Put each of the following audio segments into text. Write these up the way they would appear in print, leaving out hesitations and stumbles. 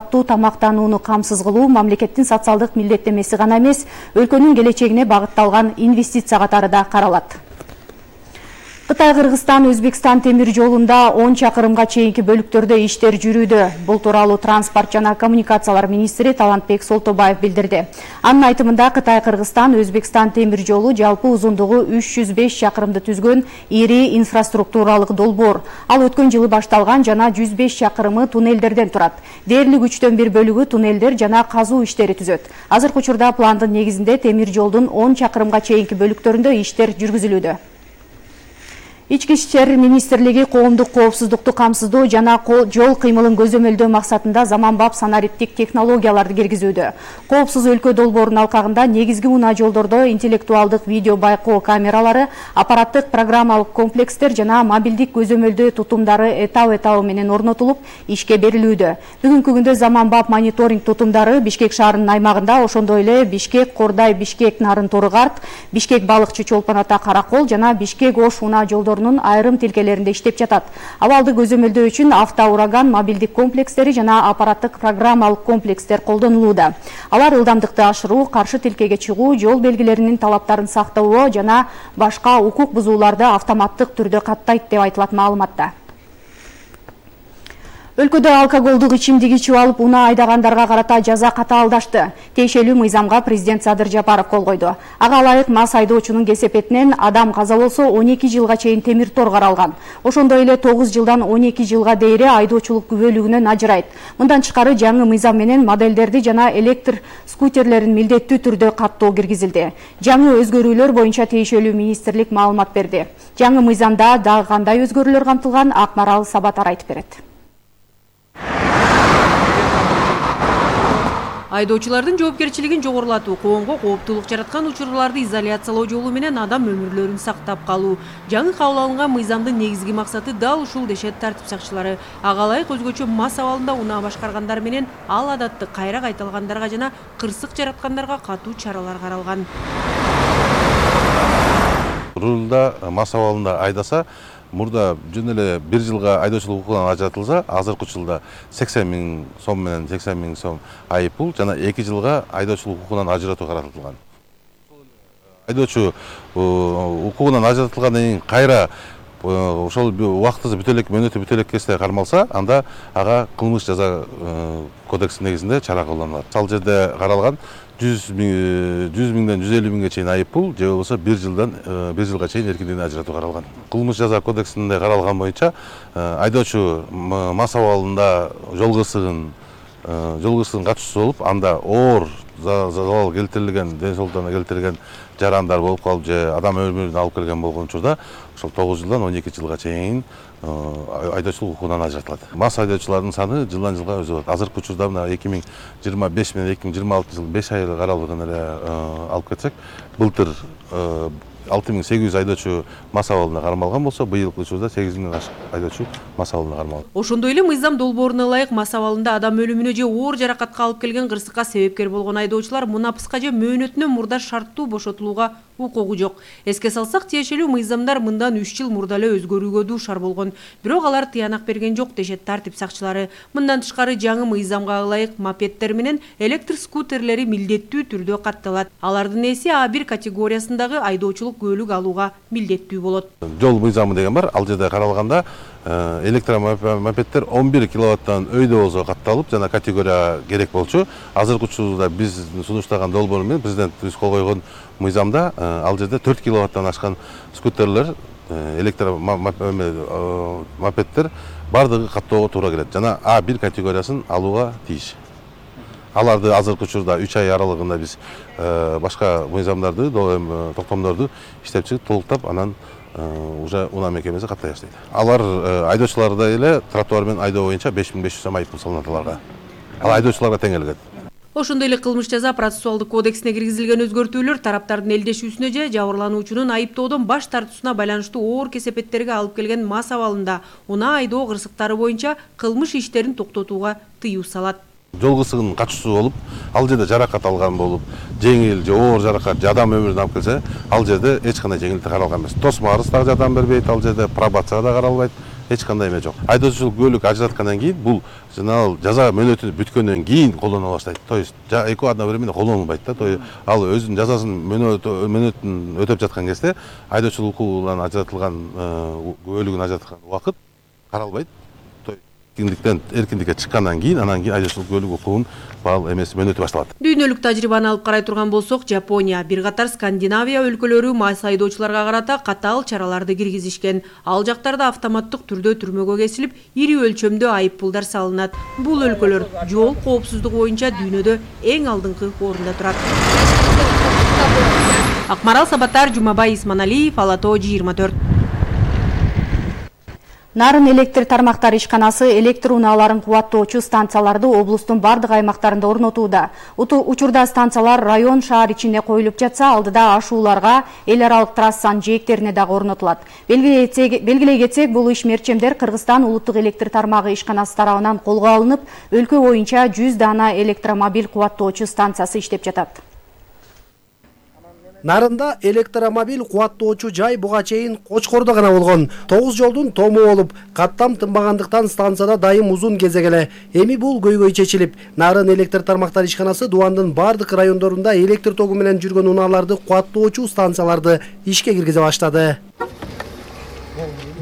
каттуу тамактанууну камсыз кылуу мамлекеттин социалдык милдеттемеси гана эмес, өлкөнүн келечегине багытталган инвестиция катары да каралат. Кытай-Кыргызстан Өзбекстан темир жолунда 10 чакырымга чейинки бөлүктөрдө иштер жүрүүдө. Бул тууралуу транспорт жана коммуникациялар министри Талантбек Солтобаев билдирди. Анын айтымында Кытай-Кыргызстан Өзбекстан темир жолу жалпы узундугу 305 чакырымды түзгөн ири инфраструктуралык долбоор. Ал өткөн жылы башталган жана 105 чакырымы туннелдерден турат. Дээрлик 3төн 1 бөлүгү туннелдер жана казуу иштери түзөт. Азыркы учурда пландын негизинде темир жолдун 10 чакырымга чейинки бөлүктөрүндө иштер жүргүзүлүүдө. Ички иштер министрлиги коомдук коопсуздукту камсыздоо жана жол кыймылын көзөмөлдөө максатында заманбап санариптик технологияларды киргизүүдө. Коопсуз өлкө долбоорунун алкагында негизги унаа жолдордо интеллектуалдык видео байкоо камералары, аппараттык программалык комплекстер жана мобилдик көзөмөлдөө тутумдары этап менен орнотулуп, ишке берилүүдө. Бүгүнкү күндө заманбап мониторинг тутумдары Бишкек шаарынын аймагында, ошондой эле Бишкек, Кордай, Бишкек, Нарын, Торугарт, Бишкек, Балыкчы, Чолпон Ата, Каракол жана Бишкек, Ош унаа жолдору айрым тилкелеринде иштеп жатат. Абалды көзөмөлдөө үчүн автоураган мобилдик комплекстери жана аппараттык программалык комплекстер колдонулууда. Алар ылдамдыкты ашыруу, каршы тилкеге чыгуу, жол белгилеринин талаптарын сактоо жана башка укук бузууларды автоматтык түрдө каттайт деп айтылат маалыматта. Өлкөдө алкоголдук ичимдик ичип алып унаа айдагандарга карата жаза катаалдашты. Тиешелүү мыйзамга президент Садыр Жапаров кол койду. Ага ылайык мас айдоочунун кесепетинен адам каза болсо 12 жылга чейин темир тор каралган. Ошондой эле 9 жылдан 12 жылга дейре айдоочулук күбөлүгүнөн ажырайт. Мындан тышкары жаңы мыйзам менен моделдерди жана электр скутерлерин милдеттүү түрдө каттоо киргизилди. Жаңы өзгөрүүлөр боюнча тиешелүү министрлик маалымат берди. Жаңы мыйзамда дагы кандай өзгөрүүлөр камтылган, Акмарал Сабатар айтып берет. Айдоочулардын жоопкерчилигин жогорулатуу, коомго кооптуулук жараткан учурларды изоляциялоо жолу менен адам өмүрлөрүн сактап калуу. Жаңы кабыл алынган мыйзамдын негизги максаты дал ушул дешет тартип сакчылары. Ага ылайык өзгөчө мас абалында унаа башкаргандар менен ал адатты кайра кайталгандарга жана кырсык жараткандарга катуу чаралар каралган. Рулда мас абалында айдаса, мурда жөн эле 1 жылга айдоочулук укугунан ажыратылса, азыркы учурда 80 000 сом менен 80 000 сом айып пул жана 2 жылга айдоочулук укугунан ажыратуу каралган. Айдоочу укугунан ажыратылгандан кийин кайра ошол убактысы бүтө элек, мөөнөтү бүтө элек кезде кармалса, анда ага кылмыш жаза кодексинин негизинде чара колдонулат. Ал жерде каралган 100 миңден 150 миңге чейин айып пул, же болбосо 1 жылдан 1 жылга чейин эркиндигинен ажыратуу каралган. Кылмыш жаза кодексинде каралган боюнча айдоочу мас абалында жол кырсыгын катуучусу болуп, анда оор залал келтирилген, ден соолуктуна келтирилген жарандар болуп калып, же адам өмүрүн алып келген болгон учурда ошол 9 жылдан 12 жылга чейин айдоочулук укугунан ажыратылат. Мас айдоочулардын саны жылдан жылга өзгөрөт. Азыркы учурда мына 2025 менен 2026 жыл 5 ай каралыгын эле алып кетсек, былтыр 6800 айдоочу мас абалында кармалган болсо, быйылкы учурда 8000 айдоочу мас абалында кармалган. Ошондой эле мыйзам долбооруна ылайык мас абалында адам өлүмүнө же оор жаракатка алып келген кырсыкка себепкер болгон айдоочулар мунапыска же мөөнөтүнөн мурда шарттуу бошотулууга укугу жок. Эске салсак, тиешелүү мыйзамдар мындан 3 жыл мурда эле өзгөрүүгө дуушар болгон. Бирок алар тыянак берген жок, дешет тартип сакчылары. Мындан тышкары жаңы мыйзамга ылайык мопеддер менен электр скутерлери милдеттүү түрдө катталат. Алардын ээси А1 категориясындагы айдоочулук көлүк алууга милдеттүү болот. Жол мыйзамы деген бар. Ал жерде каралганда электромопеддер 11 киловаттан өйдө болсо катталып, жана категория керек болчу. Азыркы учурда биз сунуштаган долбоор менен президентибиз кол койгон мыйзамда ал жерде 4 киловаттан ашкан скутерлер, электромопеддер бардыгы каттоого туура келет. Жана А1 категориясын алууга тийиш. Аларды азыркы учурда 3 ай аралыгында биз башка мыйзамдарды, токтомдорду иштеп чыгып, толуктап, анан уже унаа мекемеси каттай баштайт. Алар айдоочуларда эле тротуар менен айдоо боюнча 5500 сом айып пул салынат аларга. Ал айдоочуларга тең келет. Ошондой эле кылмыш жаза процессуалдык кодексине киргизилген өзгөртүүлөр тараптардын элдешүүсүнө же жабырлануучунун айыптоодон баш тартуусуна байланыштуу оор кесепеттерге алып келген мас абалында унаа айдоо кырсыктары боюнча кылмыш иштерин токтотууга тыюу салат. Жол кырсыгынын катуучусу болуп, ал жерде жаракат алган болуп, жеңил же оор жаракат, же адам өмүрүн алып келсе, ал жерде эч кандай жеңилдик каралган эмес. Тосмо арыз дагы жардам бербейт, ал жерде пробация да каралбайт. эч кандай эме жок. Айдоочулук көлүк ажыраткандан кийин бул жанагы жаза мөөнөтү бүткөндөн кийин колдоно баштайт. То есть экөө одновременно колдонулбайт да. Ал өзүнүн жазасын мөөнөтүн өтөп жаткан кезде айдоочулук укугунан ажыратылган көлүгүн ажыраткан убакыт каралбайт. Эркиндикке чыккандан кийин анан кийин айдоочулук көлүк укугунун баал эмеси мөөнөтү башталат. Дүйнөлүк тажрыйбаны алып карай турган болсок, Жапония, бир катар Скандинавия өлкөлөрү мас айдоочуларга карата катаал чараларды киргизишкен. Ал жактарда автоматтык түрдө түрмөгө кесилип, ири өлчөмдө айыппулдар салынат. Бул өлкөлөр жол коопсуздугу боюнча дүйнөдө эң алдыңкы орунда турат. Акмарал Сабаттар, Жумабай Исманалиев, Ала Тоо 24. Нарын электр тармактары ишканасы электр унааларын кубаттоочу станцияларды облустун бардык аймактарында орнотууда. Учурда станциялар район, шаар ичине коюлуп жатса, алдыда ашууларга эл аралык трассанын жээктерине дагы орнотулат. Белгилей кетсек, бул ишмерчемдер Кыргызстан улуттук электр тармагы ишканасы тарабынан колго алынып, өлкө боюнча 100 дана электромобиль кубаттоочу станциясы иштеп жатат. Нарында электромобиль кубаттоочу жай буга чейин Кочкордо гана болгон. 9 жолдун тому болуп, каттам тынбагандыктан станцияда дайым узун кезек эле. Эми бул көйгөй чечилип, Нарын электр тармактары ишканасы Дубандын бардык райондорунда электр тогу менен жүргөн унааларды кубаттоочу станцияларды ишке киргизе баштады.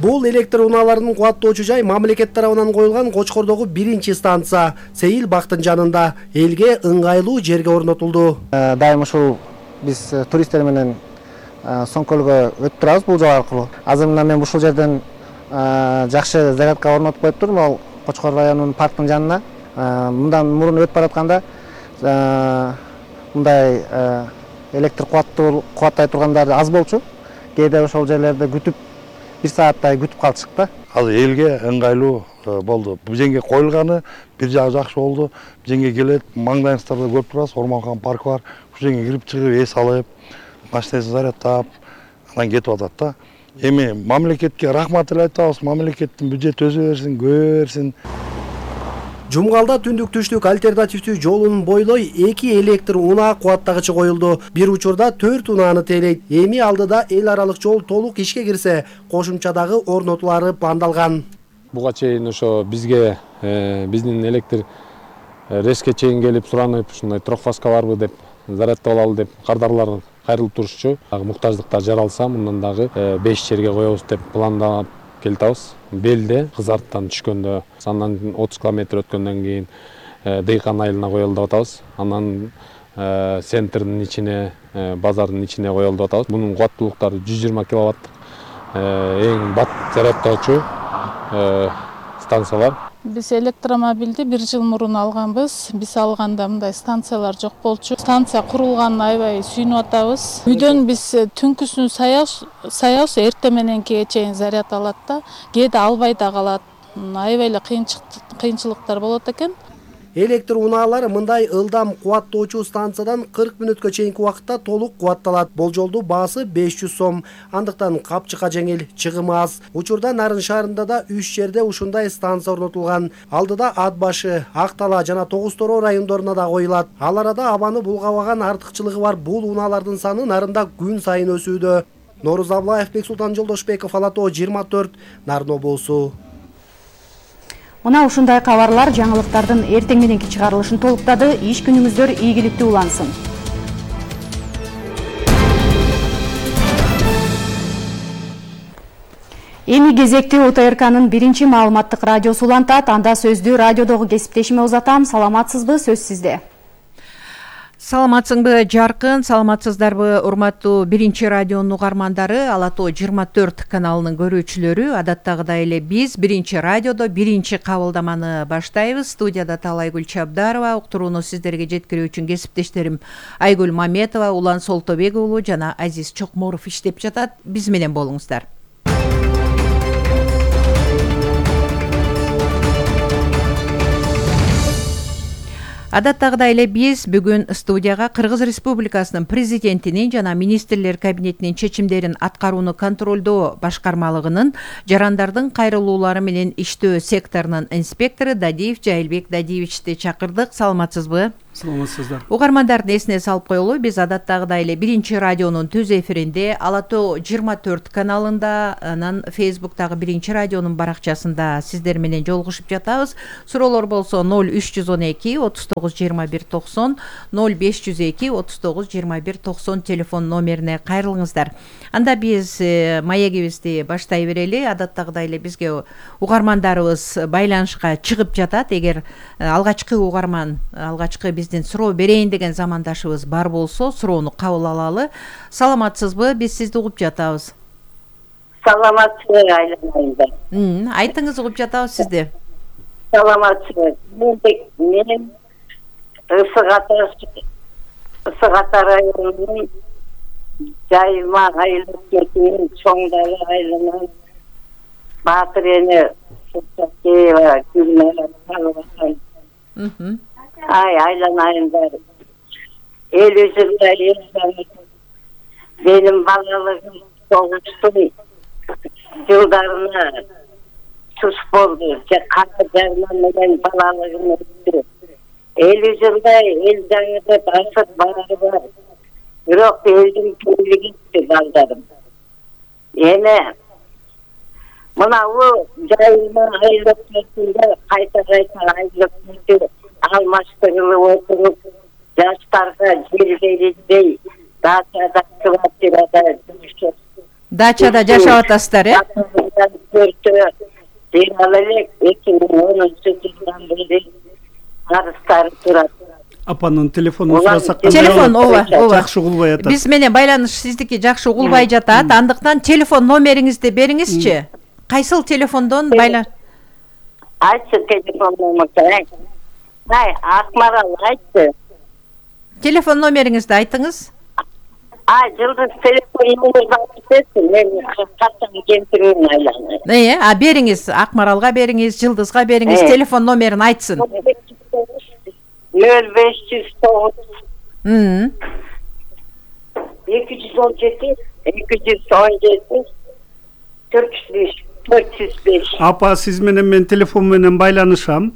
Бул электр унааларын кубаттоочу жай мамлекет тарабынан коюлган Кочкордогу биринчи станция Сейил бактын жанында, элге ыңгайлуу жерге орнотулду. Дайым ушул биз туристтер менен Соңкөлгө өтүп турабыз бул жол аркылуу. Азыр мына мен ушул жерден жакшы зарядка орнотуп коюп турдум, ал Кочкор районунун парктын жанына. Мындан мурун өтүп баратканда мындай электр кубаттай тургандары аз болчу. Кээде ошол жерлерде күтүп 1 сааттай күтүп калчык да. Азыр элге ыңгайлуу болду. Бул жерге коюлганы бир жагы жакшы болду. Бул жерге келет, маңдайыңыздарда көрүп турасыз, Орманхан паркы бар. Ушул жерге кирип чыгып, эс алып, машинасын зарядтап, анан кетип атат да. Эми мамлекетке рахмат эле айтабыз. Мамлекеттин бюджети өзө берсин, көбөйө берсин. Жумгалда түндүк түштүк альтернативдүү жолунун бойлой 2 электр унаа кубаттагычы коюлду. Бир учурда 4 унааны тейлейт. Эми алдыда эл аралык жол толук ишке кирсе, кошумчадагы орнотулары пландалган. Буга чейин ошо бизге биздин электр реске чейин келип суранып, ушундай трохфаска барбы деп, зарядтап алалы деп кардарлар кайрылып турушчу. Муктаждыктар жаралса, мындан дагы 5 жерге коебуз деп пландап келтабыз. Белде кызарттан түшкөндө, андан 30 км өткөндөн кийин Дыйкан айылына коелу деп атабыз. Анан центрдин ичине, базардын ичине коелу деп атабыз. Мунун кубаттуулуктары 120 киловатт. Эң бат зарядтоочу станциялар. Биз электромобилди 1 жыл мурун алганбыз. Биз алганда мындай станциялар жок болчу. Станция курулганын аябай сүйүнүп атабыз. Үйдөн биз түнкүсүн саябыз, эртең мененкиге чейин заряд алат да, кээде албай да калат. Аябай эле кыйынчылыктар болот экен. Электр унаалары мындай ылдам кубаттоочу станциядан 40 мүнөткө чейинки убакытта толук кубатталат. Болжолдуу баасы 500 сом. Андыктан капчыкка жеңил, чыгымы аз. Учурда Нарын шаарында да 3 жерде ушундай станция орнотулган. Алдыда Ат башы, Ак Тала жана Тогуз Тороо райондоруна да коюлат. Ал арада абаны булгабаган артыкчылыгы бар бул унаалардын саны Нарында күн сайын өсүүдө. Норуз Аблаев, Бексултан Жолдошбеков, Ала Тоо 24, Нарын облусу. Мына ушундай кабарлар жаңылыктардын эртең мененки чыгарылышын толуктады. Иш күнүңүздөр ийгиликтүү улансын. Эми кезекти УТРКнын биринчи маалыматтык радиосу улантат. Анда сөздү радиодогу кесиптешиме узатам. Саламатсызбы, сөз сизде. Саламатсыңбы жаркын, саламатсыздарбы урматтуу биринчи радионун угармандары, Ала Тоо 24 каналынын көрүүчүлөрү. Адаттагыдай эле биз биринчи радиодо биринчи кабылдаманы баштайбыз. Студияда Талайгүл Чабдарова, уктурууну сиздерге жеткирүү үчүн кесиптештерим Айгүл Маметова, Улан Солтобек уулу жана Азиз Чокморов иштеп жатат. Биз менен болуңуздар. Адаттагыдай эле биз бүгүн студияга Кыргыз Республикасынын президентинин жана министрлер кабинетинин чечимдерин аткарууну контролдоо башкармалыгынын жарандардын кайрылуулары менен иштөө секторунун инспектору Дадиев Жайылбек Дадиевичти чакырдык. Саламатсызбы? саламатсыздар. Угармандардын эсине салып коелу, биз адаттагыдай эле биринчи радионун түз эфиринде Ала Тоо 24 каналында, анан Facebook'тагы биринчи радионун баракчасында сиздер менен жолугушуп жатабыз. Суроолор болсо 0312 39 21 90, 0502 39 21 90 телефон номерине кайрылыңыздар. Анда биз маегибизди баштай берели. Адаттагыдай эле бизге угармандарыбыз байланышка чыгып жатат. Эгер алгачкы угарман, алгачкы биздин суроо берейин деген замандашыбыз бар болсо, суроону кабыл алалы. Саламатсызбы? Биз сизди угуп жатабыз. Саламатсызбы, айланайында. Айтыңыз, угуп жатабыз сизди. Саламатсызбы. Мен Ысык Ата районунун Жайылма айылдыкетинин чоңдалы айланан Батыр эне Султакеева Гүлнара Талыбакан. Айланайындар. Эл өзүмдө менин балалыгым 90 жылдарына туш болду. Ката жарман менен балалыгым өттү. Эл өзүмдө эл жаңырып асык баары бар. Бирок элдин көйлүгү балдарым. Эне мынау жайылма айлыкчысында кайта айлыкчы алмаштырылып отуруп, жаштарга жер берилбей, дачада квартирада жүрүшөт. Дачада жашап атасыздар, э? Элек 2010-жылдан бери арыздары турат. Апанын телефонун сурасак, телефон ооба. Жакшы угулбай атат. Биз менен байланыш сиздики жакшы угулбай жатат. Андыктан телефон номериңизди бериңизчи. Кайсыл телефондон байлан? Айтчы телефон номерин. Акмарал айтты. Телефон номериңизди айтыңыз. Жылдыз телефон номерин айтсың, мен каттан кемпирмин айланы. Бериңиз, Акмаралга бериңиз, Жылдызга бериңиз, телефон номерин айтсын. 0509 217 217 405. Апа, сиз менен мен телефон менен байланышам.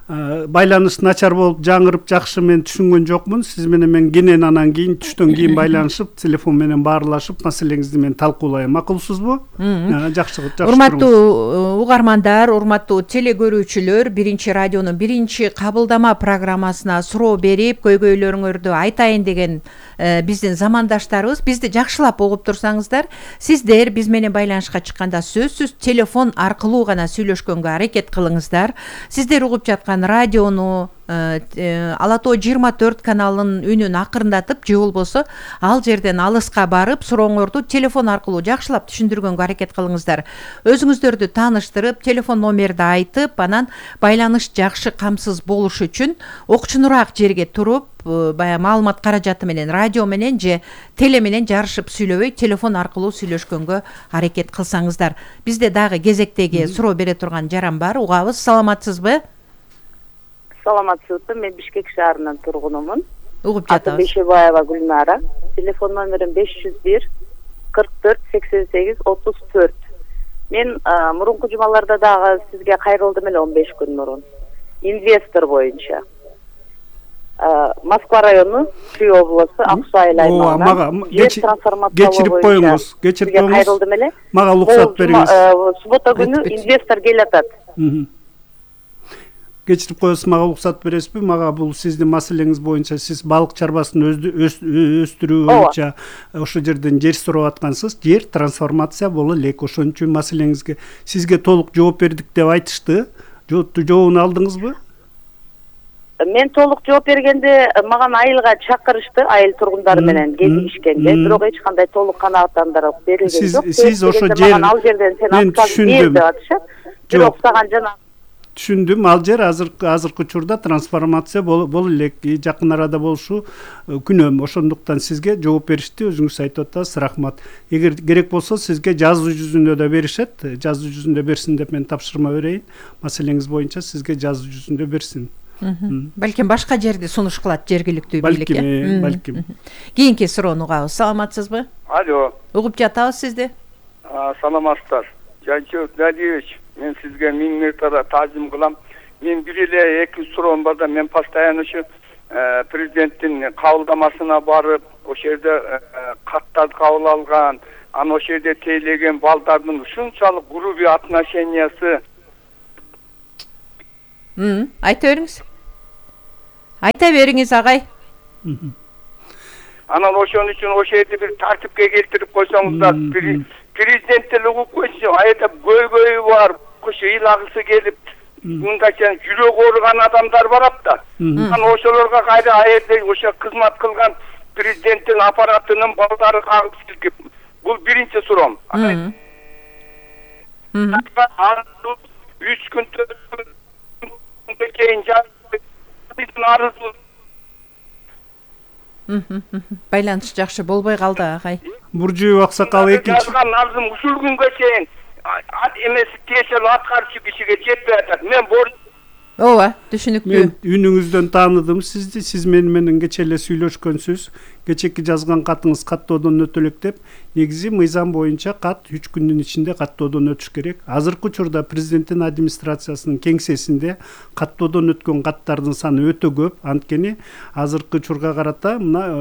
Байланыш начар болуп жаңырып жакшы мен түшүнгөн жокмун. Сиз менен мен кенен анан кийин түштөн кийин байланышып, телефон менен баарлашып, маселеңизди мен талкуулайм. Макулсузбу? Жакшы. Урматтуу угармандар, урматтуу теле көрүүчүлөр, биринчи радионун биринчи кабылдама программасына суроо берип, көйгөйлөрүңөрдү айтайын деген биздин замандаштарыбыз, бизди жакшылап угуп турсаңыздар, сиздер биз менен байланышка чыкканда сөзсүз телефон аркылуу гана сүйлөшкөнгө аракет кылыңыздар. Сиздер угуп жаткан радиону Ала Тоо 24 каналынын үнүн акырындатып, же болбосо ал жерден алыска барып, сурооңорду телефон аркылуу жакшылап түшүндүргөнгө аракет кылыңыздар. Өзүңүздөрдү тааныштырып, телефон номерди айтып, анан байланыш жакшы камсыз болуш үчүн окчунураак жерге туруп, баягы маалымат каражаты менен, радио менен же теле менен жарышып сүйлөбөй, телефон аркылуу сүйлөшкөнгө аракет кылсаңыздар. Бизде дагы кезектеги суроо бере турган жаран бар. Угабыз, саламатсызбы? Саламатсызбы, мен Бишкек шаарынын тургунумун. Угуп жатабыз. Бешебаева Гүлнара. Телефон номерим 501 44 88 34. Мен мурунку жумаларда дагы сизге кайрылдым эле 15 күн мурун. Инвестор боюнча. Москва району, Чүй областы, Аксу айыл аймагынан жер трансформациялоо боюнча кечирип коюңуз. Кайрылдым эле. Мага уруксат бериңиз. Суббота күнү инвестор келатат. Кечирип коесуз, мага уруксат бересизби? Мага бул сиздин маселеңиз боюнча, сиз балык чарбасын өстүрүү боюнча ошол жерден жер сурап аткансыз. Жер трансформация боло элек. Ошон үчүн маселеңизге сизге толук жооп бердик деп айтышты. Жообун алдыңызбы? Мен толук жооп бергенде мага айылга чакырышты, айыл тургундары менен кезигишкенде, бирок эч кандай толук канааттандырып берилген жок. Сиз ошо жер ал жерден сен алып бер деп атышат. Бирок саган жана түшүндүм. Ал жер азыркы учурда трансформация боло элек, жакын арада болушу күнөм. Ошондуктан сизге жооп беришти, өзүңүз айтып атасыз. Рахмат. Эгер керек болсо сизге жазуу жүзүндө да беришет. Жазуу жүзүндө берсин деп мен тапшырма берейин. Маселеңиз боюнча сизге жазуу жүзүндө берсин. Балким башка жерди сунуш кылат жергиликтүү бийлик. Балким. Кийинки суроону угабыз. Саламатсызбы? Алло. Угуп жатабыз сизди. Саламатсыздар. Жанчыбек Надиевич, мен сизге миң миктарда таазим кылам. Мен бир эле эки суроом бар да, мен постоянно ушу президенттин кабылдамасына барып ошол жерде каттарды кабыл алган, анан ошол жерде тейлеген балдардын ушунчалык грубый отношениясы. Айта бериңиз. Айта бериңиз, агай. Анан ошон үчүн ошол жерде бир тартипке келтирип койсоңуздар, президент деле угуп койсун, аята көйгөйү бар, кушу ыйлагысы келип, мындайча жүрөгү ооруган адамдар барат да. Анан ошолорго кайра аерде ошо кызмат кылган президенттин аппаратынын балдары кагып силкип, бул биринчи суроом. 3 күн кейін биздин арыз Байланыш жакшы болбой калды, агай. Буржуев аксакал экинчи жазган арызым ушул күнгө чейин эмеси тиешелүү аткаруучу кишиге жетпей атат. Мен Ооба, түшүнүктүү. Мен үнүңүздөн тааныдым сизди. Сиз менен кече эле сүйлөшкөнсүз. Кечеки жазган катыңыз каттоодон өтө элек деп. Негизи мыйзам боюнча кат 3 күндүн ичинде каттоодон өтүш керек. Азыркы учурда президенттин администрациясынын кеңсесинде каттоодон өткөн каттардын саны өтө көп. Анткени азыркы учурга карата мына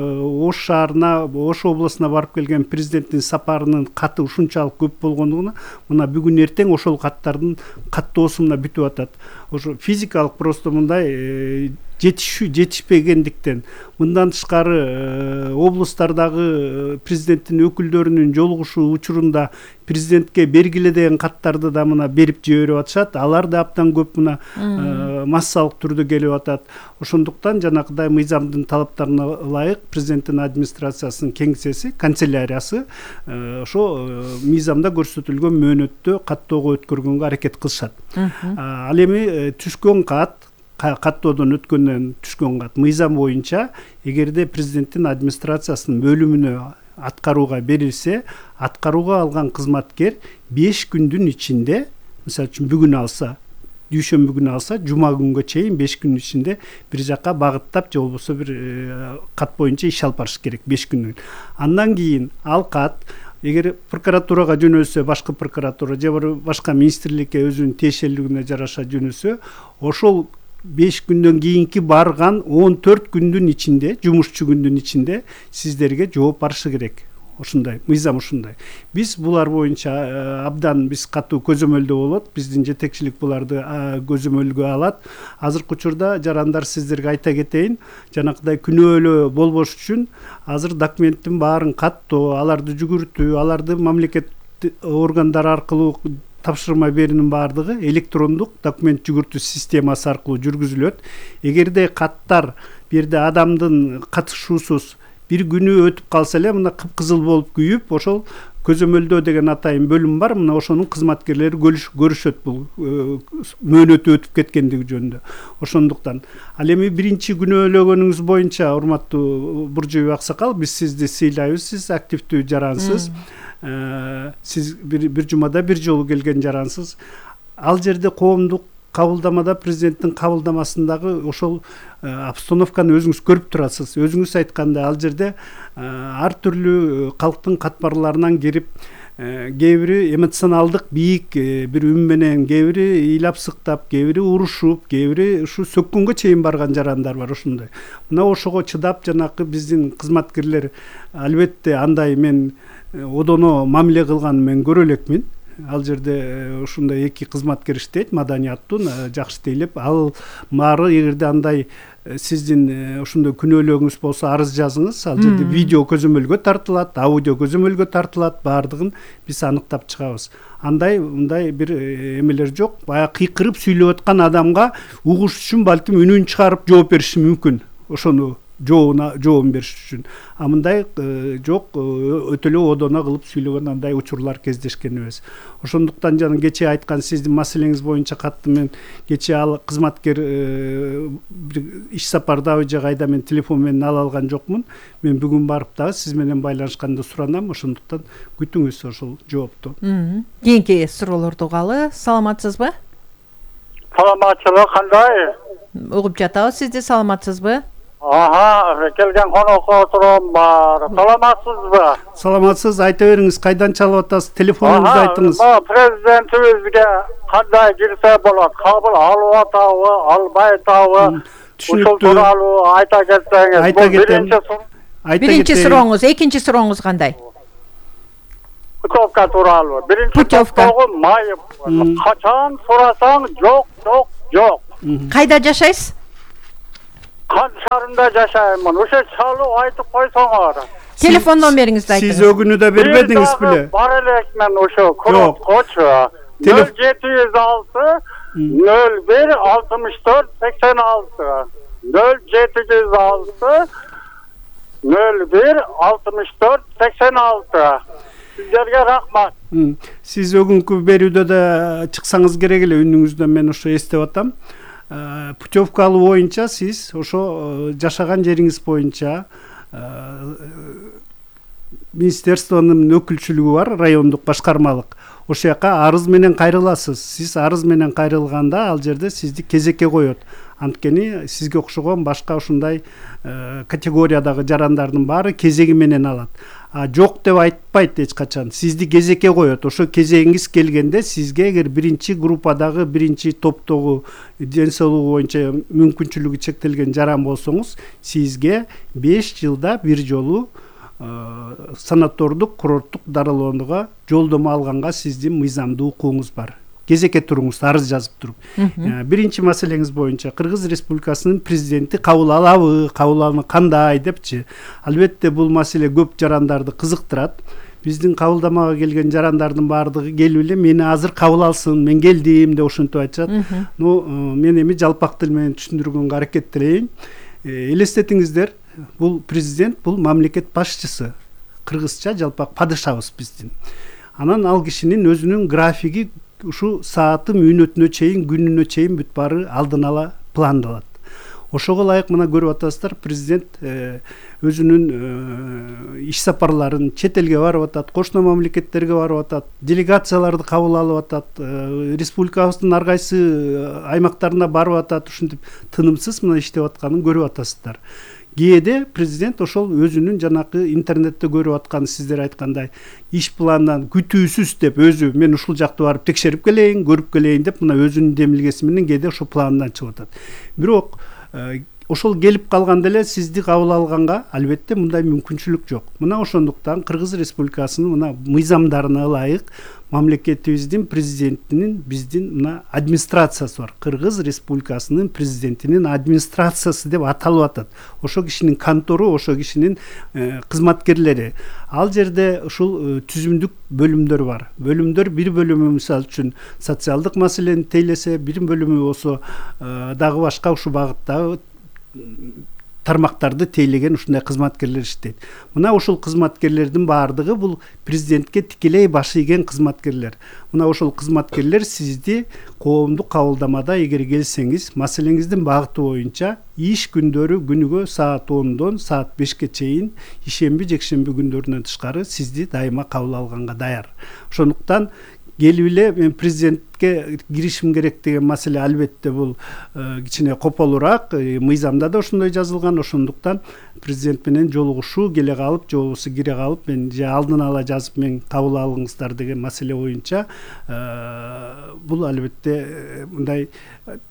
Ош шаарына, Ош областына барып келген президенттин сапарынын каты ушунчалык көп болгондугуна мына бүгүн эртең ошол каттардын каттоосу мына бүтүп атат. Ошо физикалык просто мындай жетишпегендиктен, мындан тышкары облустардагы президенттин өкүлдөрүнүн жолугушуу учурунда президентке бергиле деген каттарды да мына берип жиберип атышат. Алар да абдан көп мына массалык түрдө келип атат. Ошондуктан жанакыдай мыйзамдын талаптарына ылайык президенттин администрациясынын кеңсеси, канцеляриясы ошо мыйзамда көрсөтүлгөн мөөнөттө каттоого өткөргөнгө аракет кылышат. Ал эми түшкөн каттоодон өткөндөн түшкөн кат мыйзам боюнча эгерде президенттин администрациясынын бөлүмүнө аткарууга берилсе, аткарууга алган кызматкер 5 күндүн ичинде, мисалы үчүн бүгүн алса, дүйшөмбү күнү алса, жума күнгө чейин 5 күн ичинде бир жака багыттап же болбосо бир кат боюнча иш алып барыш керек 5 күндөн. Андан кийин ал кат эгер прокуратурага жөнөлсө, башкы прокуратура же башка министрликке өзүнүн тиешелүүлүгүнө жараша жөнөлсө, ошол 5 күндөн кийинки барган 14 күндүн ичинде, жумушчу күндүн ичинде сиздерге жооп барышы керек. Ушундай, мыйзам ушундай. Биз булар боюнча абдан биз катуу көзөмөлдө болот. Биздин жетекчилик буларды көзөмөлгө алат. Азыркы учурда жарандар сиздерге айта кетейин, жанакыдай күнөөлүү болбош үчүн азыр документтин баарын каттоо, аларды жүгүртүү, аларды мамлекет органдары аркылуу тапшырма берүүнүн баардыгы электрондук документ жүгүртүү системасы аркылуу жүргүзүлөт. Эгерде каттар бир жерде адамдын катышуусуз бир күнү өтүп калса эле мына кыпкызыл болуп күйүп, ошол көзөмөлдөө деген атайын бөлүм бар. Мына ошонун кызматкерлери көрүшөт бул мөөнөтү өтүп кеткендиги жөнүндө. Ошондуктан ал эми биринчи күнөөлөгөнүңүз боюнча, урматтуу Буржуев аксакал, биз сизди сыйлайбыз. Сиз активдүү жарансыз. Сиз бир жумада бир жолу келген жарансыз. Ал жерде коомдук кабылдамада президенттин кабылдамасындагы ошол обстановканы өзүңүз көрүп турасыз. Өзүңүз айткандай, ал жерде ар түрлүү калктын катмарларынан кирип, кээ бири эмоционалдык бийик бир үн менен, кээ бири ыйлап сыктап, кээ бири урушуп, кээ бири ушу сөккөнгө чейин барган жарандар бар ушундай. Мына ошого чыдап жанакы биздин кызматкерлер албетте андай мен одоно мамиле кылганын мен көрө элекмин. Ал жерде ушундай эки кызматкер иштейт, маданияттуу жакшы тейлеп, ал баары эгерде андай сиздин ушундай күнөөлөрүңүз болсо арыз жазыңыз. Ал жерде видео көзөмөлгө тартылат, аудио көзөмөлгө тартылат, баардыгын биз аныктап чыгабыз. Андай мындай бир эмелер жок. Баягы кыйкырып сүйлөп аткан адамга угуш үчүн балким үнүн чыгарып жооп бериши мүмкүн. Ошону жообун бериш үчүн. А мындай жок, өтө эле одоно кылып сүйлөгөн андай учурлар кездешкен эмес. Ошондуктан жана кече айткан сиздин маселеңиз боюнча катты мен кече ал кызматкер иш сапардабы же кайда мен телефон менен ала алган жокмун. Мен бүгүн барып дагы сиз менен байланышканда суранам. Ошондуктан күтүңүз ошол жоопту. Кийинки суроолорду угалы. Саламатсызбы? Саламатчылык кандай? Угуп жатабыз. Сизди саламатсызбы? Келген конокко турум бар. Саламатсызбы? Саламатсыз, айта бериңиз, кайдан чалып атасыз? Телефонуңузду айтыңыз. Президентибизге кандай кирсе болот? Кабыл алып атабы, албай атабы? ушул тууралуу айта кетсеңиз. Айта кетем. Биринчи сурооңуз, экинчи сурооңуз кандай? Путевка тууралуу. Биринчи топтогу майып. Качан сурасаң жок. Кайда жашайсыз? Кан шаарында жашаймын. Ошо чалуу айтып койсоңор. Телефон номериңизди айтыңыз. Сиз өгүнү да бербедиңиз беле? Бар элекмен ошо кочу. 0706 01 64 86. 0706 01 64 86. Sizlerге рахмат. Сиз өгүнкү берүүдө да чыксаңыз керек эле, үнүңүздөн мен ошо эстеп атам. Путевка алуу боюнча сиз ошо жашаган жериңиз боюнча министерствонун өкүлчүлүгү бар, райондук башкармалык. Ошол жака арыз менен кайрыласыз. Сиз арыз менен кайрылганда ал жерде сизди кезекке коет. Анткени сизге окшогон башка ушундай категориядагы жарандардын баары кезеги менен алат. Жок деп айтпайт эч качан. Сизди кезекке коет. Ошо кезегиңиз келгенде сизге эгер биринчи группадагы, биринчи топтогу ден соолугу боюнча мүмкүнчүлүгү чектелген жаран болсоңуз, сизге 5 жылда бир жолу санатордук, курорттук дарылоонууга жолдомо алганга сиздин мыйзамдуу укугуңуз бар. Кезекке туруңуз, арыз жазып туруп. Биринчи маселеңиз боюнча Кыргыз Республикасынын президенти кабыл алабы, кабыл алганы кандай депчи. Албетте бул маселе көп жарандарды кызыктырат. Биздин кабылдамага келген жарандардын баардыгы келип эле мени азыр кабыл алсын, мен келдим деп ошентип айтышат. Мен эми жалпак тил менен түшүндүргөнгө аракеттенейин. Элестетиңиздер, бул президент, бул мамлекет башчысы. Кыргызча жалпак падышабыз биздин. Анан ал кишинин өзүнүн графиги ушу сааты, мүнөтүнө чейин, күнүнө чейин бүт баары алдын ала пландалат. Ошого ылайык мына көрүп атасыздар, президент өзүнүн иш сапарларын чет элге барып атат, кошуна мамлекеттерге барып атат, делегацияларды кабыл алып атат, республикабыздын ар кайсы аймактарына барып атат, ушинтип тынымсыз мына иштеп атканын көрүп атасыздар. Кээде президент ошол өзүнүн жанакы интернетте көрүп аткан сиздер айткандай иш планынан күтүүсүз деп өзү мен ушул жакты барып текшерип келейин, көрүп келейин деп мына өзүнүн демилгеси менен кээде ошол пландан чыгып атат. Бирок ошол келип калганда эле сизди кабыл алганга албетте мындай мүмкүнчүлүк жок. Мына ошондуктан Кыргыз Республикасынын мына мыйзамдарына ылайык мамлекетибиздин президентинин биздин мына администрациясы бар. Кыргыз Республикасынын президентинин администрациясы деп аталып атат. Ошо кишинин контору, ошо кишинин кызматкерлери. Ал жерде ушул түзүмдүк бөлүмдөр бар. Бөлүмдөр бир бөлүмү мисалы үчүн социалдык маселени тейлесе, бир бөлүмү болсо дагы башка ушу багыттагы тармактарды тейлеген ушундай кызматкерлер иштейт. Мына ушул кызматкерлердин баардыгы бул президентке тикелей баш ийген кызматкерлер. Мына ошол кызматкерлер сизди коомдук кабылдамада эгер келсеңиз, маселеңиздин багыты боюнча иш күндөрү күнүгө саат 10дон саат 5ке чейин, ишемби, жекшемби күндөрүнөн тышкары сизди дайыма кабыл алганга даяр. Ошондуктан келип эле мен президентке киришим керек деген маселе албетте бул кичине кополураак, мыйзамда да ошондой жазылган. Ошондуктан президент менен жолугушуу келе калып, же болбосо кире калып мен же алдын ала жазып мен кабыл алыңыздар деген маселе боюнча бул албетте мындай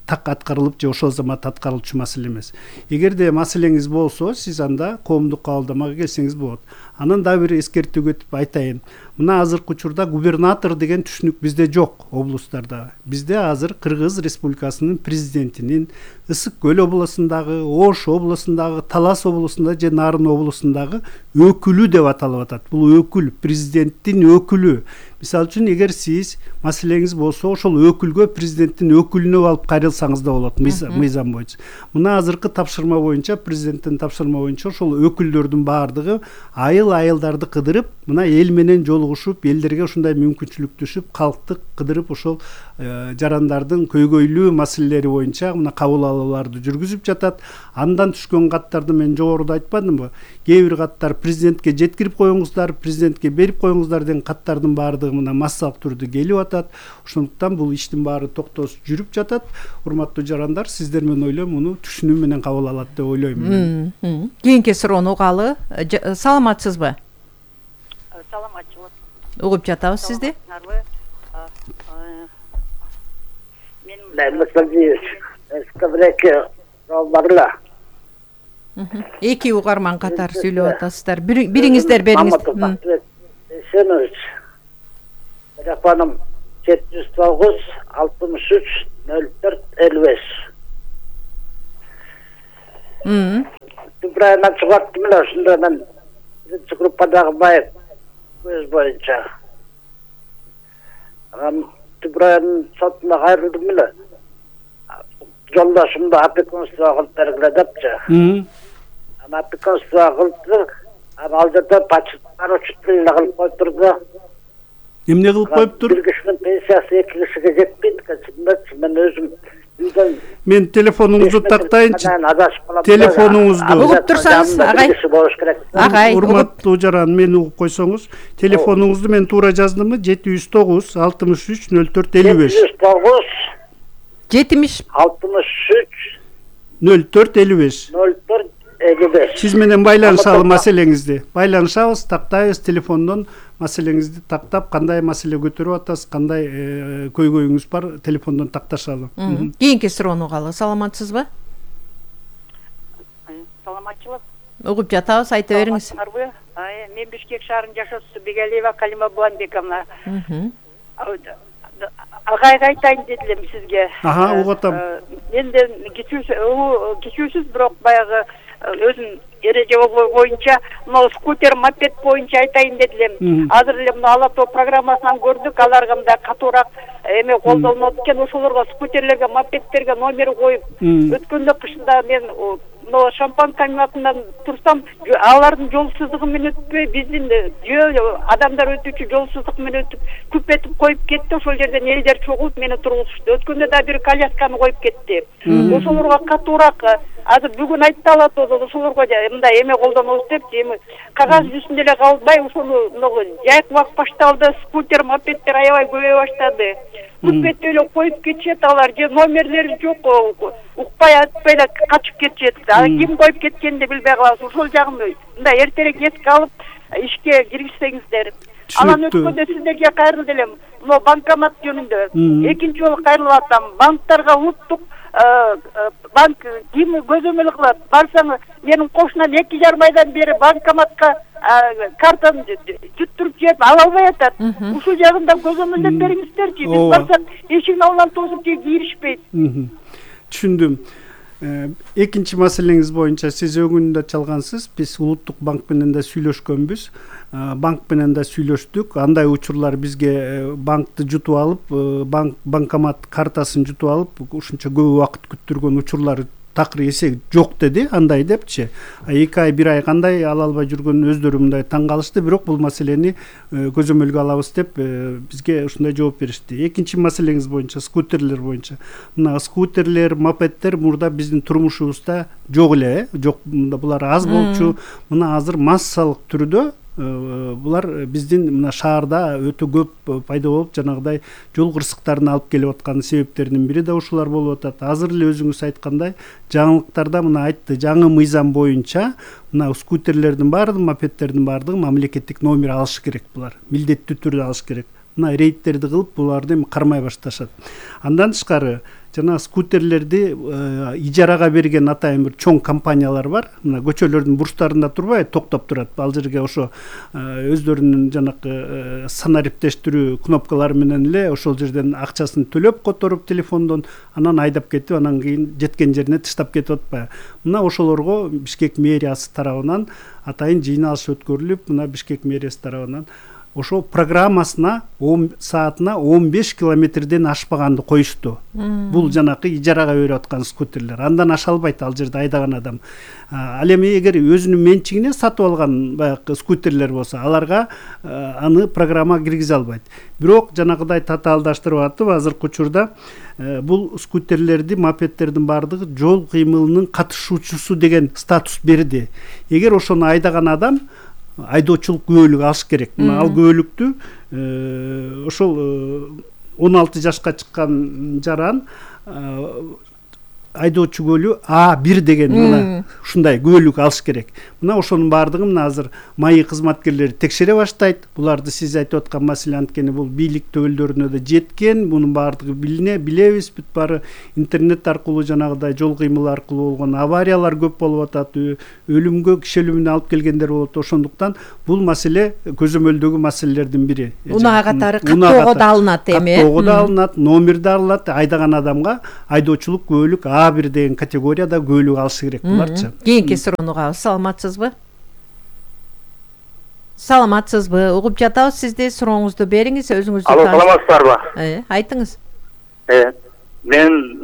так аткарылып же ошол замат аткарылчу маселе эмес. Эгерде маселеңиз болсо, сиз анда коомдук кабылдамага келсеңиз болот. Анан дагы бир эскертүүгө өтүп айтайын. Мына азыркы учурда губернатор деген түшүнүк бизде жок, облустарда. Бизде азыр Кыргыз Республикасынын президентинин Ысык Көл облусундагы, Ош облусундагы, Талас облусунда же Нарын облусундагы өкүлү деп аталып атат. Бул өкүл, президенттин өкүлү. Мисалы үчүн эгер сиз маселеңиз болсо, ошол өкүлгө президенттин өкүлүнө алып кайрылсаңыз да болот, мыйзам боюнча. Мына азыркы тапшырма боюнча, президенттин тапшырма боюнча ошол өкүлдөрдүн баардыгы айылдарды кыдырып, мына эл менен жолугушуп, элдерге ушундай мүмкүнчүлүк түшүп, калкты кыдырып ошол жарандардын көйгөйлүү маселелери боюнча мына кабыл алууларды жүргүзүп жатат. Андан түшкөн каттарды мен жогоруда айтпадымбы? Кээ бир каттар президентке жеткирип коюңуздар, президентке берип коюңуздар деген каттардын баардыгы мына массалык түрдө келип атат. Ошондуктан бул иштин баары токтосуз жүрүп жатат. Урматтуу жарандар, сиздер мен ойлойм муну түшүнүү менен кабыл алат деп ойлойм. Кийинки суроону угалы. Саламатсызбы? Саламатчылык. Угуп жатабыз сизди. Мен Скобрек бар эле. Эки угарман катар сүйлөп атасыздар. Бириңиздер бериңиз. Сенович. Телефонум 709 63 04 55. Тубрайна чыгаттым эле, ошондо мен биринчи группадагы байып көз боюнча. Тубрайнын сотуна кайрылдым эле. Жолдошумду опекунство кылып бергиле депчи. Ана опекунство кылды, ал жерде поручитель кылып койтурду. Эмне кылып коюптур? Бир кишинин пенсиясы эки кишиге жетпейт экен. Мен өзүм үйдөн мен телефонуңузду тактайынчы. Телефонуңузду угуп турсаңыз, агай. Урматтуу жаран, мени угуп койсоңуз, телефонуңузду мен туура жаздымбы? 709 63 04 55. 709 63 04 55. 04 55. Сиз менен байланышалы маселеңизди. Байланышабыз, тактайбыз телефондон маселеңизди тактап, кандай маселе көтөрүп атасыз, кандай көйгөйүңүз бар, телефондон такташалы. Кийинки суроону угалы. Саламатсызбы? Саламатчылык. Угуп жатабыз, айта бериңиз. Мен Бишкек шаарынын жашоочусу Бегалиева Калима Буланбековна. Агайга айтайын дедилем сизге. Угуп атам. Менден кичүүсүз, бирок баягы өзүм эреже боюнча мына скутер, мопед боюнча айтайын дедилем. Азыр эле мына Ала Тоо программасынан көрдүк, аларга мындай катуураак эме колдонулат экен, ошолорго скутерлерге, мопедтерге номер коюп. Өткөндө кышында мен мына Шампан комбинатынан турсам, алардын жолсуздугу менен өтпөй, биздин адамдар өтүүчү жолсуздук менен өтүп, күп этип коюп кетти. Ошол жерден элдер чогулуп мени тургузушту. Өткөндө да бир колясканы коюп кетти. Ошолорго катуураак азыр бүгүн айтты Ала Тоодо, ошолорго мындай эме колдонобуз депчи, эми кагаз жүзүндө эле калбай, ошону жайкы убак башталды, скутер, мопеддер аябай көбөйө баштады. Күпөтө эле коюп кетишет алар, же номерлери жок, укпай атпай эле качып кетишет. Ким коюп кеткенин билбей калабыз. Ошол жагын мындай эртерээк эске алып, ишке киргизсеңиздер. Анан өткөндө сиздерге кайрылды элем, мына банкомат жөнүндө. Экинчи жолу кайрылып атам. Банктарга уттук, банк ким көзөмөл кылат? Барсаң, менин кошунам 2,5 айдан бери банкоматка картаны жүттүрүп жеп ала албай атат. Ушул жагында көзөмөлдөп бериңиздерчи. Биз барсак, эшигин алдынан тосуп киришпейт. Түшүндүм. Экинчи маселеңиз боюнча сиз өгүндө чалгансыз. Биз Улуттук банк менен да сүйлөшкөнбүз. Банк менен да сүйлөштүк. Андай учурлар бизге банкты жутуп алып, банкомат картасын жутуп алып, ушунча көп убакыт күттүргөн учурлар такыр эсе жок деди, андай депчи. 2 ай 1 ай кандай ала албай жүргөнүн өздөрү мындай таң калышты, бирок бул маселени көзөмөлгө алабыз деп бизге ушундай жооп беришти. Экинчи маселеңиз боюнча, скутерлер боюнча. Мына скутерлер, мопеддер мурда биздин турмушубузда жок эле, жок, булар аз болчу. Мына азыр массалык түрдө булар биздин мына шаарда өтө көп пайда болуп, жанагыдай жол кырсыктарын алып келип аткан себептердин бири да ушулар болуп атат. Азыр эле өзүңүз айткандай, жаңылыктарда мына айтты, жаңы мыйзам боюнча мына скутерлердин баардыгы, мопеддердин баардыгы мамлекеттик номер алышы керек булар. Милдеттүү түрдө алыш керек. Мына рейдтерди кылып буларды кармай башташат. Андан тышкары жана скутерлерди ижарага берген атайын бир чоң компаниялар бар. Мына көчөлөрдүн бурчтарында турбай токтоп турат. Ал жерге ошо өздөрүнүн жанакы санариптештирүү кнопкалары менен эле ошол жерден акчасын төлөп которуп телефондон, анан айдап кетип, анан кийин жеткен жерине таштап кетип атпайбы. Мына ошолорго Бишкек мэриясы тарабынан атайын жыйналыш өткөрүлүп, мына Бишкек мэриясы тарабынан ошо программасына саатына 15 километрден ашпаганды коюшту. Бул жанакы ижарага берип аткан скутерлер. Андан аша албайт ал жерде айдаган адам. Ал эми эгер өзүнүн менчигине сатып алган баягы скутерлер болсо, аларга аны программа киргизе албайт. Бирок жанагыдай татаалдаштырып атып, азыркы учурда бул скутерлерди, мопеддердин баардыгы жол кыймылынын катышуучусу деген статус берди. Эгер ошону айдаган адам айдоочулук күбөлүк алыш керек. Ал күбөлүктү ошол 16 жашка чыккан жаран айдоочу көлүгү А1 деген мына ушундай көлүк алыш керек. Мына ошонун баардыгын мына азыр майы кызматкерлери текшере баштайт. Буларды сиз айтып аткан маселе анткени бул бийлик төбөлдөрүнө да жеткен. Мунун баардыгы билебиз. Бүт баары интернет аркылуу жанагыдай жол кыймыл аркылуу болгон авариялар көп болуп атат. Өлүмгө, киши өлүмүнө алып келгендер болот. Ошондуктан бул маселе көзөмөлдөгү маселелердин бири. Унаа катары каттоого да алынат эми. Каттоого да алынат, номер да алынат. Айдаган адамга айдоочулук көлүк А1 деген категорияда көлүк алышы керек буларчы. Кийинки суроону угабыз. Саламатсызбы? Угуп жатабыз сизди. Сурооңузду бериңиз, өзүңүздү. Алло, саламатсыздарбы? Айтыңыз. Мен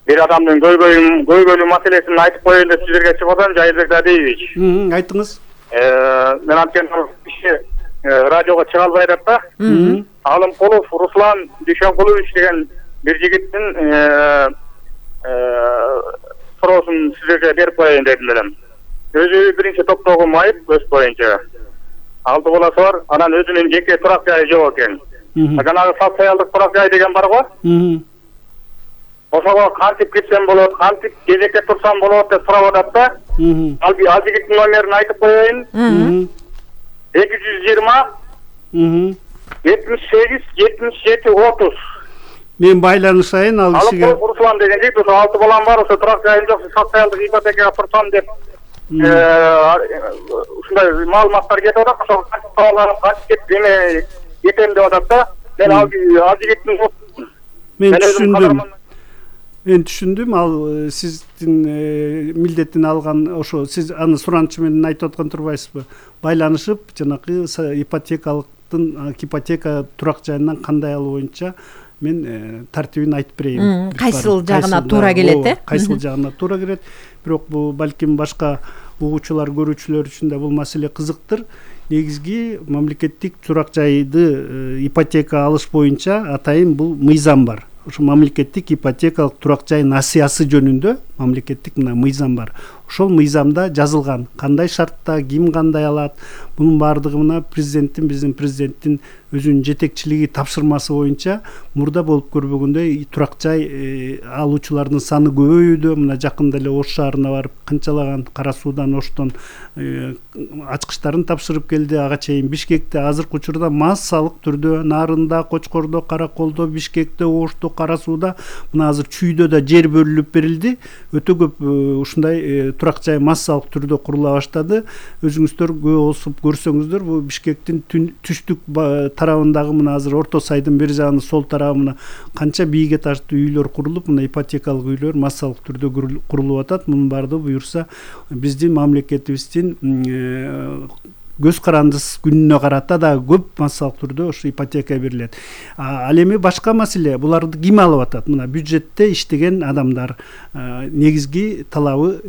бир адамдын көйгөйлүү маселесин айтып коеюн деп сиздерге чыгып атам, Жайырбек Дадиевич. Айтыңыз. Мен анткени киши радиого чыга албай атат да. Алымкулов Руслан Дүйшөнкулович деген бир жигиттин суроосун сиздерге берип коеюн дедим элем. Өзү биринчи топтогу майып өз боюнча. 6 баласы бар, анан өзүнүн жеке турак жайы жок экен. Жанагы социалдык турак жай деген бар го. Ошого кантип кетсем болот, кантип кезекке турсам болот деп сурап атат да. Ал жигиттин номерин айтып коеюн. 220 78 77 30. Мен байланышайын ал кишиге. Руслан деген жигит, ошо 6 балам бар, ошо турак жайым жок, социалдык ипотекага турсам деп ушундай маалыматтар кетип атат. Ошо кантип кетем деп атат да. Мен ал жигиттин Мен түшүндүм. Ал сиздин милдетин алган, ошо сиз аны суранчы менен айтып аткан турбайсызбы? Байланышып, жанагы ипотека турак жайынан кандай алуу боюнча мен тартибин айтып берейин. Кайсыл жагына туура келет, Кайсыл жагына туура келет. Бирок бул балким башка угуучулар, көрүүчүлөр үчүн да бул маселе кызыктыр. Негизги мамлекеттик турак жайды ипотека алыш боюнча атайын бул мыйзам бар. Ошо мамлекеттик ипотекалык турак жай насыясы жөнүндө мамлекеттик мына мыйзам бар. Ошол мыйзамда жазылган кандай шартта ким кандай алат. Бунун баардыгы мына биздин президенттин өзүнүн жетекчилиги тапшырмасы боюнча мурда болуп көрбөгөндөй турак жай алуучулардын саны көбөйүүдө. Мына жакында эле Ош шаарына барып канчалаган Кара Суудан, Оштон ачкычтарын тапшырып келди. Ага чейин Бишкекте азыркы учурда массалык түрдө Нарында, Кочкордо, Караколдо, Бишкекте, Ошто, Кара Сууда мына азыр Чүйдө да жер бөлүнүп берилди. Өтө көп ушундай турак жай массалык түрдө курула баштады. Өзүңүздөр болуп көрсөңүздөр, бул Бишкектин түштүк тарабындагы мына азыр Орто Сайдын бер жагынын сол тарабына канча бийге таштуу үйлөр курулуп, мына ипотекалык үйлөр массалык түрдө курулуп атат. Мунун баардыгы буюрса биздин мамлекетибиздин көз карандысыз күнүнө карата да көп массалык түрдө ошо ипотека берилет. Ал эми башка маселе, буларды ким алып атат? Мына бюджетте иштеген адамдар негизги талабы,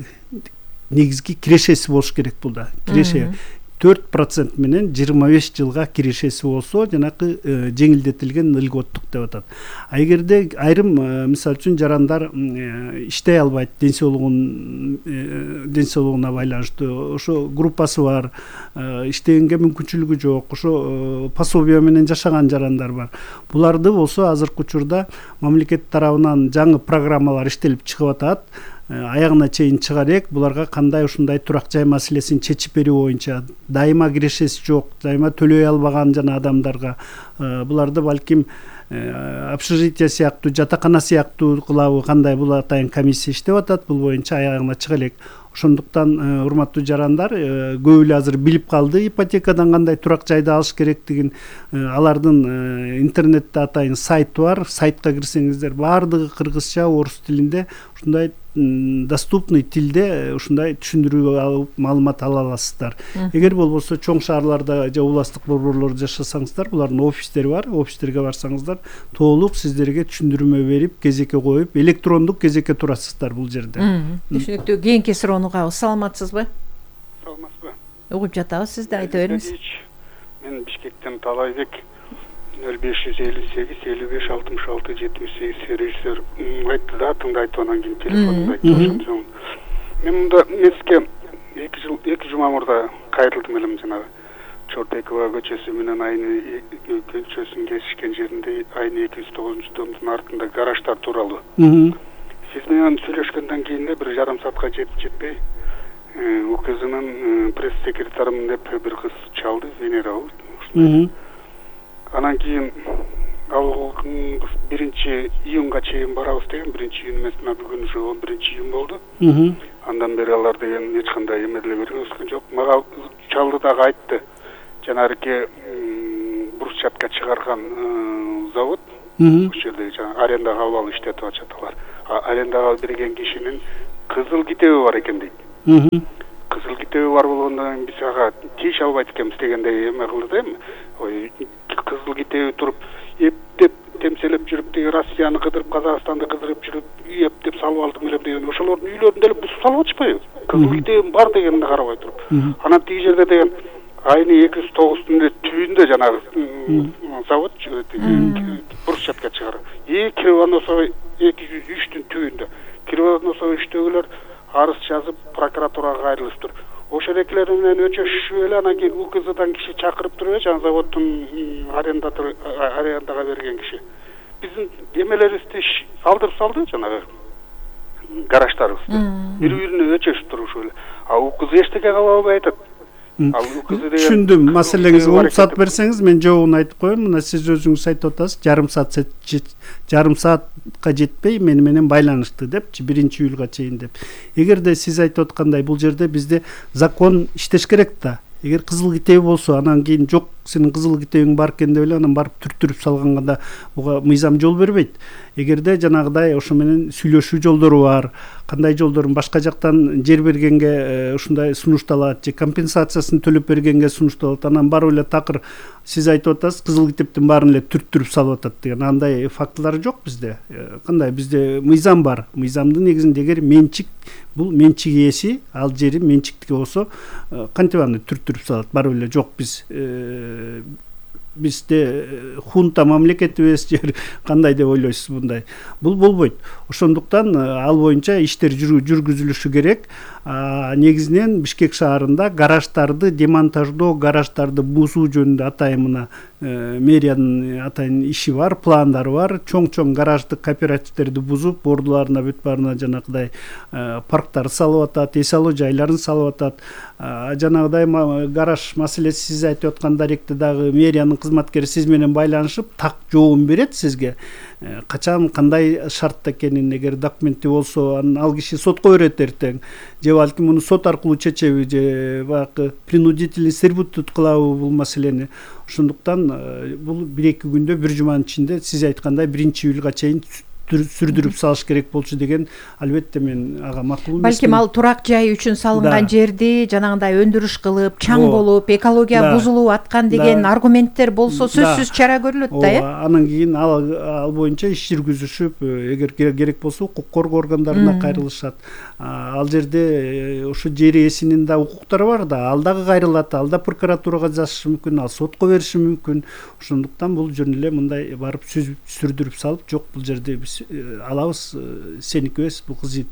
негизги кирешеси болуш керек булда. Киреше 4% менен 25 жылга кирешеси болсо, жанакы жеңилдетилген льготтук деп атат. Эгерде айрым мисалы үчүн жарандар иштей албайт, ден соолугуна байланыштуу, ошо группасы бар, иштегенге мүмкүнчүлүгү жок, ошо пособие менен жашаган жарандар бар. Буларды болсо азыркы учурда мамлекет тарабынан жаңы программалар иштелип чыгып атат. Аягына чейин чыгар элек, буларга кандай ушундай турак жай маселесин чечип берүү боюнча дайыма кирешеси жок, дайыма төлөй албаган жана адамдарга буларды балким общежитие сыяктуу, жатакана сыяктуу кылабы, кандай бул атайын комиссия иштеп атат, бул боюнча аягына чыга элек. Ошондуктан урматтуу жарандар көп эле азыр билип калды ипотекадан кандай турак жайды алыш керектигин. Алардын интернетте атайын сайты бар. Сайтка кирсеңиздер баардыгы кыргызча, орус тилинде ушундай доступный тилде ушундай түшүндүрүү алып маалымат ала аласыздар. Эгер болбосо чоң шаарларда же областык борборлордо жашасаңыздар, булардын офистери бар. Офистерге барсаңыздар толук сиздерге түшүндүрмө берип, кезекке коюп, электрондук кезекке турасыздар бул жерде. Түшүнүктүү. Кийинки суроону угабыз. Саламатсызбы? Саламатсызбы? Угуп жатабыз, сизди айта бериңиз. Мен Бишкектен Талайбек, 0558 55 66 78 режиссер айтты да, тыңдайт, анан кийин телефонунда айтты. Мен мында Меске 2 жума мурда кайрылдым элем, жанагы Чортекова көчөсү менен Айны көчөсүн кесишкен жеринде Айны 209-домдун артында гараждар тууралуу. Сиз менен сүйлөшкөндөн кийин эле 1,5 саатка жетпей УКЗнын пресс-секретарым деп бир кыз чалды, Венера ушундай. Анан кийин ал 1-июнга чейин барабыз деген, 1-июн эмес, бүгүн ушу 11-июн болду. Андан бери алар деген эч кандай эме деле көргөзгөн жок. Мага чалды дагы айтты. Жанагы брусчатка чыгарган завод, ошол жерде арендага алып иштетип атышат алар. Арендага берген кишинин кызыл китеби бар экен дейт. Кызыл китеби бар болгондон кийин биз ага тийише албайт экенбиз дегендей эме кылды да эми. Ой, кызыл китеби туруп эптеп темселеп жүрүп деги Россияны кыдырып, Казакстанды кыдырып жүрүп, эптеп салып алдым элем деген ошолордун үйлөрүн деле бузуп салып атышпайбы? Кызыл китебим бар дегенине карабай туруп. Анан тиги жерде деген айны 209-тун түбүндө жанагы завод брусчатка чыгарат. Кировоносово 203-түн түбүндө. Кировоносово 3-төгүлөр арыз жазып прокуратурага кайрылыптыр. Ошол экилери менен өчөшүп эле анан кийин УКЗдан киши чакырып туруп жана заводдун арендага берген киши. Биздин эмелерибизди алдырып салды жанагы гараждарыбызды. Бири-бирине өчөшүп турушуп эле. УКЗ эчтеке кыла албай атат. Түшүндүм. Маселеңизге уруксат берсеңиз мен жообун айтып коеюн. Мына сиз өзүңүз айтып атасыз, жарым саатка жетпей менен байланышты депчи, 1-июлга чейин деп. Эгерде сиз айтып аткандай бул жерде бизде закон иштеш керек да. Эгер кызыл китеби болсо, анан кийин жок, сенин кызыл китебиң бар экен деп эле анан барып түртүрүп салганга буга мыйзам жол бербейт. Эгерде жанагыдай ошо менен сүйлөшүү жолдору бар, кандай жолдорун башка жактан жер бергенге ушундай сунушталат же компенсациясын төлөп бергенге сунушталат. Анан барып эле такыр сиз айтып атасыз, кызыл китептин баарын эле түртүрүп салып атат деген. Андай фактылар жок бизде. Кандай бизде мыйзам бар. Мыйзамдын негизинде эгер менчик, бул менчик ээси, ал жери менчиктики болсо, кантип аны түртүрүп салат? Барып эле жок, бизде хунта мамлекетибиз же кандай деп ойлойсуз мындай? Бул болбойт. Ошондуктан ал боюнча иштер жүргүзүлүшү керек. Негизинен Бишкек шаарында гараждарды демонтаждоо, гараждарды бузуу жөнүндө атайын мына мэриянын атайын иши бар, пландары бар. Чоң гараждык кооперативдерди бузуп, бордуларына бүт баарына жанагыдай парктарды салып атат, эс алуу жайларын салып атат. Жанагыдай гараж маселеси сиз айтып аткан даректе дагы мэриянын кызматкери сиз менен байланышып, так жообун берет сизге. Качан кандай шартта экенин, эгер документи болсо, ал киши сотко берет эртең. Же балким муну сот аркылуу чечеби, же баягы принудительный сервитут кылабы бул маселени. Ошондуктан бул 1-2 күндө, бир жуманын ичинде сиз айткандай 1-июлга чейин сүрдүрүп салыш керек болчу деген, албетте мен ага макул эмес. Балким ал турак жай үчүн салынган жерди жанагындай өндүрүш кылып, чаң болуп, экология бузулуп аткан деген аргументтер болсо сөзсүз чара көрүлөт да, э? Анан кийин ал боюнча иш жүргүзүшүп, эгер керек болсо укук коргоо органдарына кайрылышат. Ал жерде ошо жер ээсинин да укуктары бар да, ал дагы кайрылат, ал да прокуратурага жазышы мүмкүн, ал сотко бериши мүмкүн. Ошондуктан бул жөн эле мындай барып сүрдүрүп салып, жок бул жерде биз алабыз, сеники эмес, бул кызыл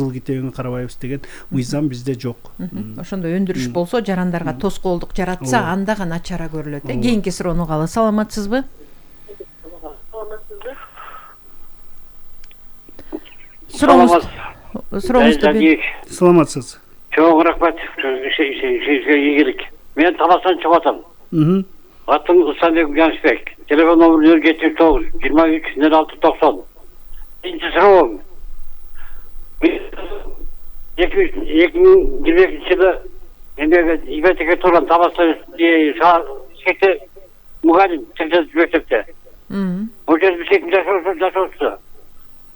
китебиңе карабайбыз деген мыйзам бизде жок. Ошондой өндүрүш болсо, жарандарга тоскоолдук жаратса, анда гана чара көрүлөт. Кийинки суроону угалы. Саламатсызбы? Суроңузду. Саламатсыз. Чоң рахмат. Сизге ийгилик. Мен Таластан чыгып атам. Атым Ысанбек Жанышбек. Телефон номеру 79 23 06 90. Birinci sıram. 2022 yılı İBTK Turan Talas'ta şekli muhalif Tekrar Gökçek'te. Bu kez bir şekilde soruştu.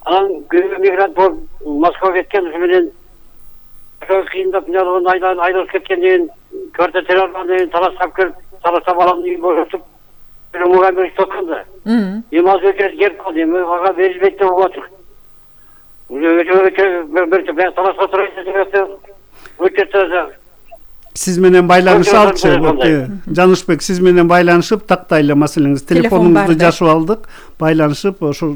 Anan gönüllü migrant Moskova etken üstümünün kıyımda pinalığın ayrılık etkenliğin körte terörlerinin Talas'a bağlamını boşaltıp bir muhalif sokağında. Yılmaz Ökçek yer kaldı. Fakat verilmekte bu batır. Ben Talas'a turayım. Siz менен байланышалчы. Жанышбек, сиз менен байланышып тактайлы маселеңиз. Телефонуңузду жашып алдык, байланышып ошол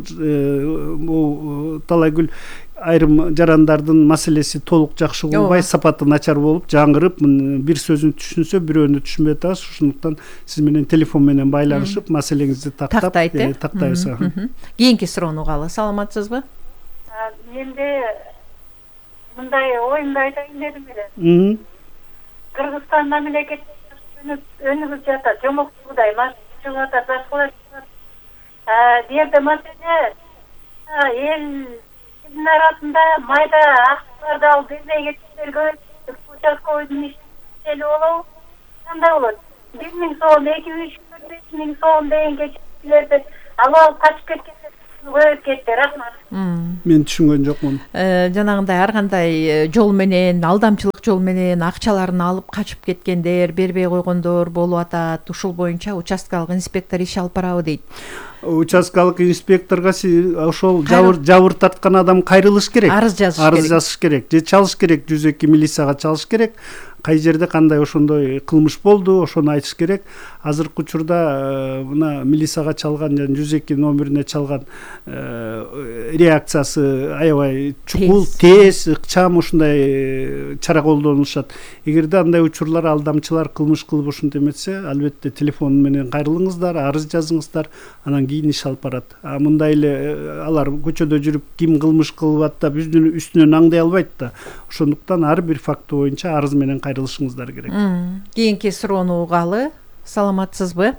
Талайгүл айрым жарандардын маселеси толук жакшы болбой, сапаты начар болуп, жаңырып, бир сөзүн түшүнсө, бирөөнү түшүнбөй атабыз. Ошондуктан сиз менен телефон менен байланышып, маселеңизди тактайбыз. Кийинки суроону угалы. Саламатсызбы? Менде мындай оюмду айтайын дедим эле. Кыргызстан мамлекети өнүгүп жатат, жомок бугдай чыгып атат, башкалар чыгып атат. Бу жерде маселе элдин арасында майда актыларды алып бербей кетиштерге участковыйдун иши болобу? Кандай болот? 1000 сом, 2-3, 4-5 миң сом деген кечилерди алып качып кеткенде коюп кетти. Рахмат. Мен түшүнгөн жокмун. Жанагындай ар кандай жол менен, алдамчылык жол менен акчаларын алып качып кеткендер, бербей койгондор болуп атат. Ушул боюнча участкалык инспектор иш алып барабы дейт. Участкалык инспекторго ошол жабыр тарткан адам кайрылыш керек. Арыз жазыш керек. Же чалыш керек, 102 милицияга чалыш керек. Кай жерде кандай ошондой кылмыш болду, ошону айтыш керек. Азыркы учурда мына милицияга чалган жана 102 номерине чалган реакциясы аябай чукул, тез, ыкчам ушундай чара колдонулушат. Эгерде андай учурлар, алдамчылар кылмыш кылып ушинтип эметсе, албетте телефон менен кайрылыңыздар, арыз жазыңыздар, анан кийин иш алып барат. Мындай эле алар көчөдө жүрүп ким кылмыш кылып атат, үстүнөн аңдай албайт да. Ошондуктан ар бир факты боюнча арыз менен кайрылышыңыздар керек. Кийинки суроону угалы. Саламатсызбы?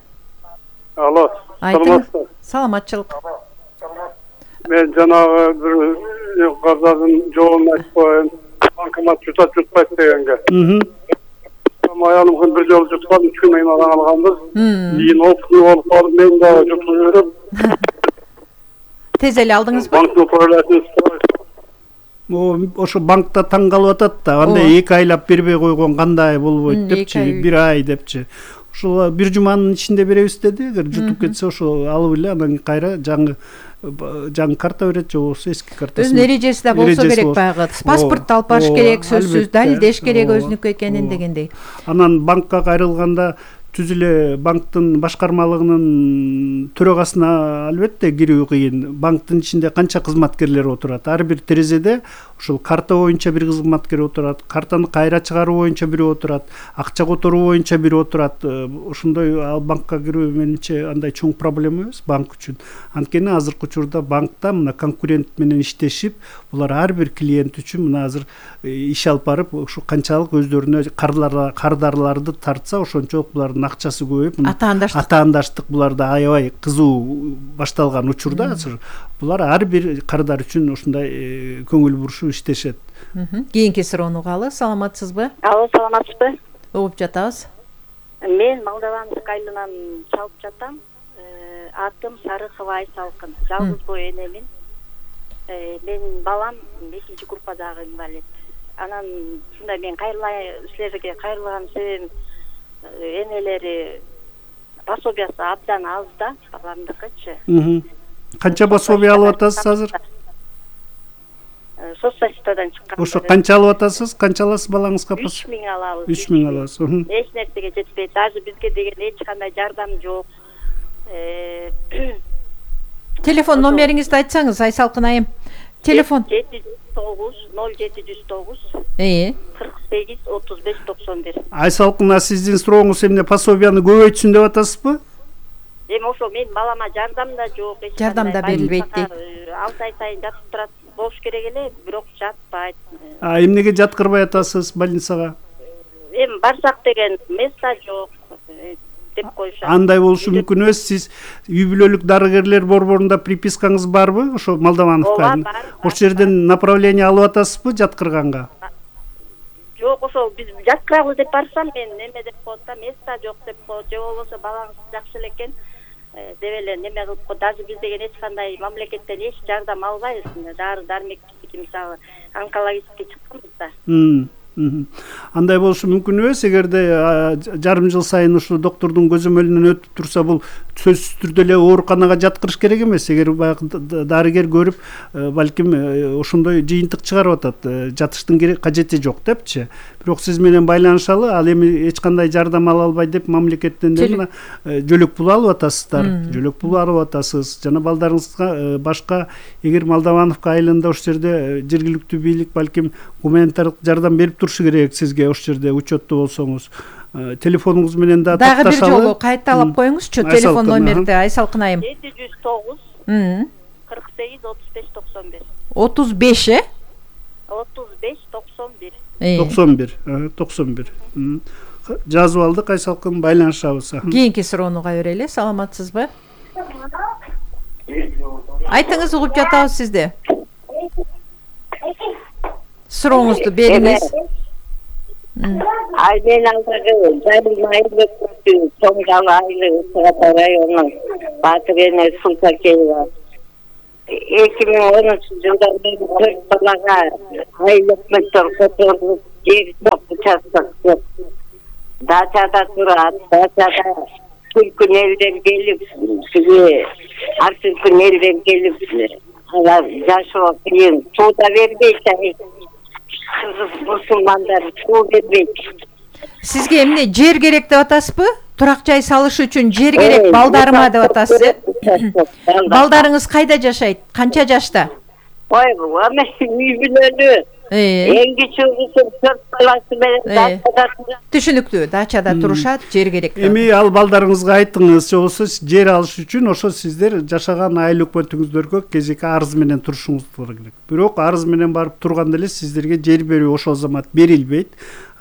Алло, саламатсызбы? Саламатчылык. Мен жанагы бир кардардын жолун айтып коеюн. Банкомат жутпайт дегенге. Аялым бир жолу жуткан, 3 күн менен алганбыз. Кийин опытный болуп калып, мен дагы жутуп жүрүп. Тез эле алдыңызбы? Банктын управляющиси. Ошо банкта таң калып атат да, андай 2 айлап бербей койгон кандай болбойт депчи, 1 ай депчи. Ошол 1 жуманын ичинде беребиз деди. Эгер жутуп кетсе ошо алып эле анан кайра жаңы карта берет, же болбосо эски картасын. Өзүнүн эрежеси да болсо керек баягы. Паспортду алып барыш керек, сөзсүз далилдеш керек өзүнүкү экенин дегендей. Анан банкка кайрылганда түз эле банктын башкармалыгынын төрагасына албетте кирүү кыйын. Банктын ичинде канча кызматкерлер отурат. Ар бир терезеде ушул карта боюнча бир кызматкер отурат, картаны кайра чыгаруу боюнча бирөө отурат, акча которуу боюнча бирөө отурат. Ошондой банкка кирүү менимче андай чоң проблема эмес банк үчүн. Анткени азыркы учурда банкта мына конкурент менен иштешип, булар ар бир клиент үчүн мына азыр иш алып барып, ушу канчалык өздөрүнө кардарларды тартса, ошончолук булардын акчасы көбөйүп, атаандаштык буларда аябай кызуу башталган учурда азыр булар ар бир кардар үчүн ушундай көңүл бурушуп иштешет. Кийинки суроону угалы. Саламатсызбы? Алло, саламатсызбы? Угуп жатабыз. Мен Молдаванск айылынан чалып жатам. Атым Сарыхова Айсалкын. Жалгыз бой энемин. Менин балам 2-чи группадагы инвалид. Анан ушундай мен силерге кайрылган себебим энелери пособиясы абдан аз да, баламдыкычы. Канча пособия алып атасыз азыр? Соцзащитадан чыккан. Ошо канча алып атасыз? Канча аласыз балаңызга пособия? 3000 алабыз. 3000 аласыз. Эч нерсеге жетпейт. Даже бизге деген эч кандай жардам жок. Телефон номериңизди айтсаңыз, Айсалкын айым. Телефон 0709 48 35 91. Айсалкын, сиздин сурооңуз эмне, пособияны көбөйтсүн деп атасызбы? Эми ошо менин балама жардам да жок. Жардам да берилбейт дейт. 6 ай сайын жатып турат болуш керек эле, бирок жатпайт. Эмнеге жаткырбай атасыз больницага? Эми барсак деген места жок деп коюшат. Андай болушу мүмкүн эмес. Сиз үй бүлөлүк дарыгерлер борборунда припискаңыз барбы? Ошо Молдавановка. Ошол жерден направление алып атасызбы жаткырганга? Жок, ошол биз жаткырабыз деп барсам, мен неме деп коет да, места жок деп коет, же болбосо балаңыз жакшы эле экен деп эле неме кылып коет. Даже биз деген эч кандай мамлекеттен эч жардам албайбыз. Дары дармектики мисалы онкологический чыкканбыз да. Андай болушу мүмкүн эмес. Эгерде жарым жыл сайын ушул доктурдун көзөмөлүнөн өтүп турса, бул сөзсүз түрдө эле ооруканага жаткырыш керек эмес. Эгер баягы дарыгер көрүп, балким ошондой жыйынтык чыгарып атат, жатыштын кажети жок депчи. Бирок сиз менен байланышалы, ал эми эч кандай жардам ала албай деп мамлекеттен мына жөлөк пул алып атасыздар. Жөлөк пул алып атасыз. Жана балдарыңызга башка, эгер Молдавановка айылында ошол жерде жергиликтүү бийлик балким гуманитардык жардам берип турушу керек сизге, ошол жерде учеттуу болсоңуз. Телефонуңуз менен да такташалы. Дагы бир жолу кайтталап коюңузчу телефон номерди, Айсалкын айым. 709 48 35 91. 35 35 91. 91. Жазып алдык, Айсалкым, байланышабыз. Кийинки суроону берели. Саламатсызбы? Айтыңыз, угуп жатабыз сизди. Сурооңузду бериңиз. Мен алдагы Жарым айылы Тоңгал айылы Сыгата районунун Батыр эне Султакеева 2010 жылдан бери 4 балага айлык мектеп көтөрүлүп, жер участок жоқ. Дачада турат, дачада күн элдер келип, ар күн элдер келип, алар жашоо кыйын, суу да бербейт. Мусулмандар суу бербейт. Сизге эмне жер керек деп атасызбы? Турак жай салыш үчүн жер керек балдарыма деп атасыз. Балдарыңыз кайда жашайт? Канча жашта? Ой, аны үй бүлөлүү. Эң кичүүсү 4 баласы менен дачада турат. Түшүнүктүү, дачада турушат, жер керек. Эми ал балдарыңызга айтыңыз, же болбосо жер алыш үчүн ошо сиздер жашаган айыл өкмөтүңүздөргө кезеки арыз менен турушуңуз керек. Бирок арыз менен барып турганда эле сиздерге жер берүү ошол замат берилбейт.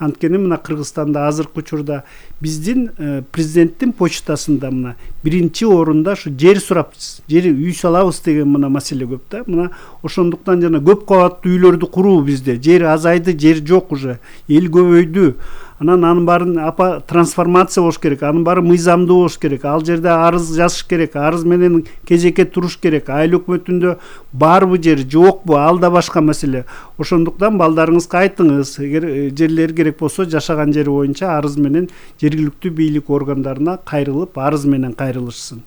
Анткени мына Кыргызстанда азыркы учурда биздин президенттин почтасында мына биринчи орунда ушу жер сурапсыз, жер үй салабыз деген мына маселе көп да. Мына ошондуктан жана көп кабаттуу үйлөрдү куруу бизде жер азайды, жер жок уже, эл көбөйдү. Анан анын баарын трансформация болуш керек, анын баары мыйзамдуу болуш керек. Ал жерде арыз жазыш керек, арыз менен кезекке туруш керек. Айыл өкмөтүндө барбы жер, жокпу, ал да башка маселе. Ошондуктан балдарыңызга айтыңыз, эгер жерлер керек болсо жашаган жери боюнча арыз менен жергиликтүү бийлик органдарына кайрылып, арыз менен кайрылышсын.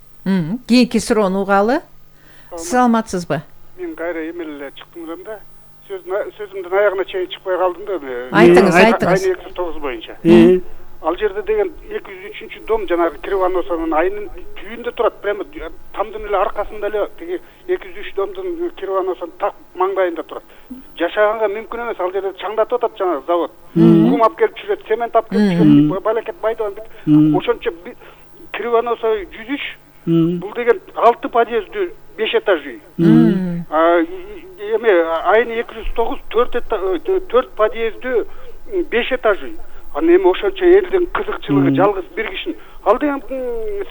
Кийинки суроону угалы. Саламатсызбы? Мен кайра эмел эле чыктым да. Сөзүмдүн аягына чейин чыкпай калдым да. Айтыңыз. Айны 209 боюнча. Ал жерде деген 203-чү дом жанагы Кривоносовдун айынын түбүндө турат. Прямо тамдын эле аркасында эле тиги 203 домдун Кривоносов так маңдайында турат. Жашаганга мүмкүн эмес, ал жерде чаңдатып атат жанагы завод. Кум алып келип жүрөт, цемент алып келип жүрөт, балакет байдон. Ошончо Кривоносов 103 бул деген 6 подъездүү 5 этаж үй. Эме айны 209 4 подъездүү 5 этаж үй. Аны эми ошончо элдин кызыкчылыгы жалгыз бир кишинин ал деген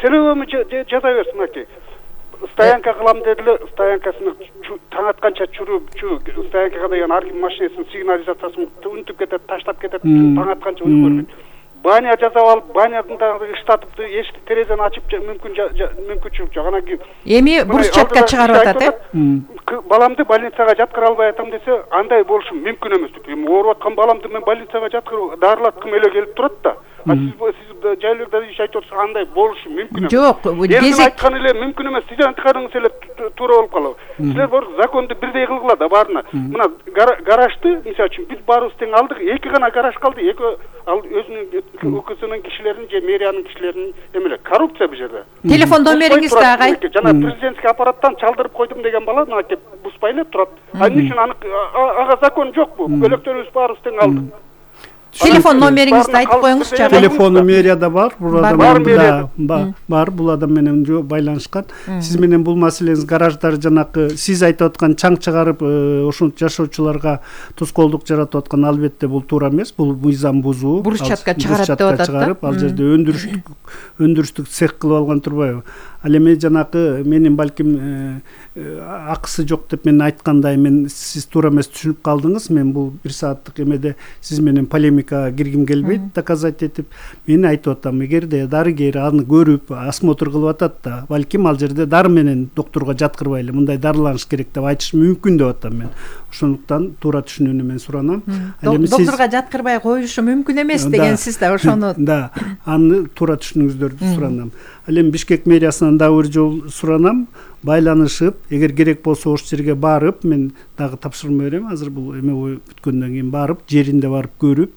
себебими жаза берсин аке. Стоянка кылам дедиле, стоянкасын таң атканча чуруп, стоянкага деген ар ким машинесин сигнализациясын үнтүп кетет, таштап кетет, таң атканча уйку көрбөйт. Баня жасап алып, банянын дагы иштатып, эшикти терезени ачып мүмкүнчүлүк жок. Анан кийин эми бурчатка чыгарып атат, баламды больницага жаткыра албай атам десе, андай болушу мүмкүн эмес. Эми ооруп аткан баламды мен больницага жаткырып, дарылаткым эле келип турат да. Сиз жайларда иш айтып атсаңыз андай болушу мүмкүн эмес. Жок, кезек айткан эле мүмкүн эмес. Сиз антканыңыз эле туура болуп калат. Силер бор законду бирдей кылгыла да баарына. Мына гаражды, мисалы үчүн биз баарыбыз тең алдык, 2 гана гараж калды. Ал өзүнүн уксунун кишилеринин же мэриянын кишилеринин эмеле коррупция бул жерде. Телефон номериңизди агай. Жана президентский аппараттан чалдырып койдум деген бала мына кеп буспай эле турат. Анын үчүн ага закон жокпу? Бөлөктөрүбүз баарыбыз тең алдык. Телефон номериңизди айтып коюңузчу. Телефону мэрияда бар, бар, бул адам менен байланышкан. Сиз менен бул маселеңиз гараждар жанакы сиз айтып аткан чаң чыгарып, ошончо жашоочуларга тоскоолдук жаратып аткан албетте бул туура эмес, бул мыйзам бузуу. Бурчатка чыгарат деп атат да. Ал жерде өндүрүштүк цех кылып алган турбайбы? Ал эми жанакы менин балким акысы жок деп мен айткандай, мен сиз туура эмес түшүнүп калдыңыз. Мен бул 1 сааттык эмеде сиз менен полемика киргим келбейт, доказать этип. Мен айтып атам, эгерде дарыгер аны көрүп, осмотр кылып атат да, балким ал жерде дары менен доктурга жаткырбай эле мындай дарыланыш керек деп айтыш мүмкүн деп атам мен. Ошондуктан туура түшүнүүнү мен суранам. Доктурга жаткырбай коюшу мүмкүн эмес дегенсиз да, ошону. Да, аны туура түшүнүңүздөрдү суранам. Ал эми Бишкек мэриясынан дагы бир жолу суранам, байланышып, эгер керек болсо ош жерге барып, мен дагы тапшырма берем, азыр бул эме ой бүткөндөн кийин барып, жеринде барып көрүп,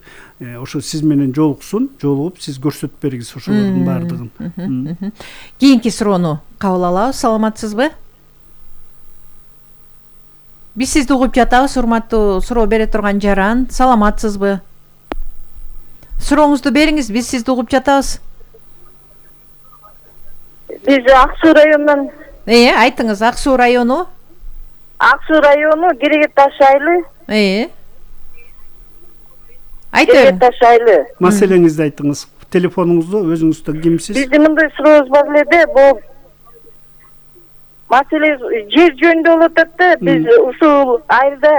ошо сиз менен жолугуп, сиз көрсөтүп бериңиз ошолордун баардыгын. Кийинки суроону кабыл алабыз. Саламатсызбы? Биз сизди угуп жатабыз, урматтуу суроо бере турган жаран. Саламатсызбы? Сурооңузду бериңиз, биз сизди угуп жатабыз. Биз Ак Суу районунан. Айтыңыз, Ак Суу району? Ак Суу району Керегет Таш айылы. Айтыңыз. Таш айылы. Маселеңизди айтыңыз. Телефонуңузду өзүңүздө кимсиз? Биздин мындай сурообуз бар эле бул маселе жер жөнүндө болуп атат да. Биз ушул айылда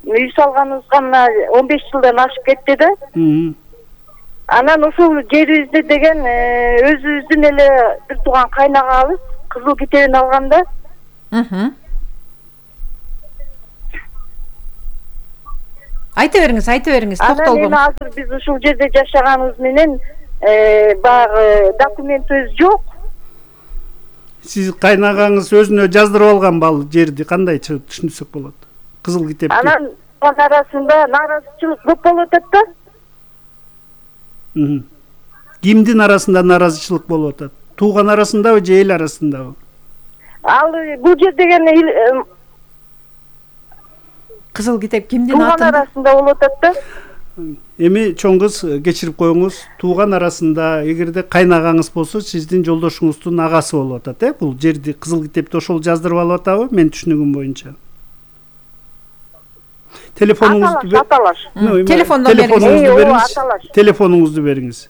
үй салганыбызга мына 15 жылдан ашып кетти да. Анан ушул жерибизди деген өзүбүздүн эле бир тууган кайнаганыбыз кызыл китебин алганда. Айта бериңиз, токтолбоңуз. Анан азыр биз ушул жерде жашаганыбыз менен баягы документибиз жок. Сиз кайнагаңыз өзүнө жаздырып алган бал жерди кандай түшүнсөк болот? Кызыл китепти. Анан арасында нааразычылык көп болуп атат да. Кимдин арасында нааразычылык болуп атат? Тууган арасындабы же эл арасындабы? Ал бул жер деген Кызыл китеп кимдин атында? Тууган арасында болуп атат да. Эми чоң кыз кечирип коюңуз. Тууган арасында эгерде кайнагаңыз болсо, сиздин жолдошуңуздун агасы болуп атат, бул жерди кызыл китепти ошол жаздырып алып атабы, мен түшүнүгүм боюнча? Телефонуңузду бериңиз. Телефонуңузду бериңиз.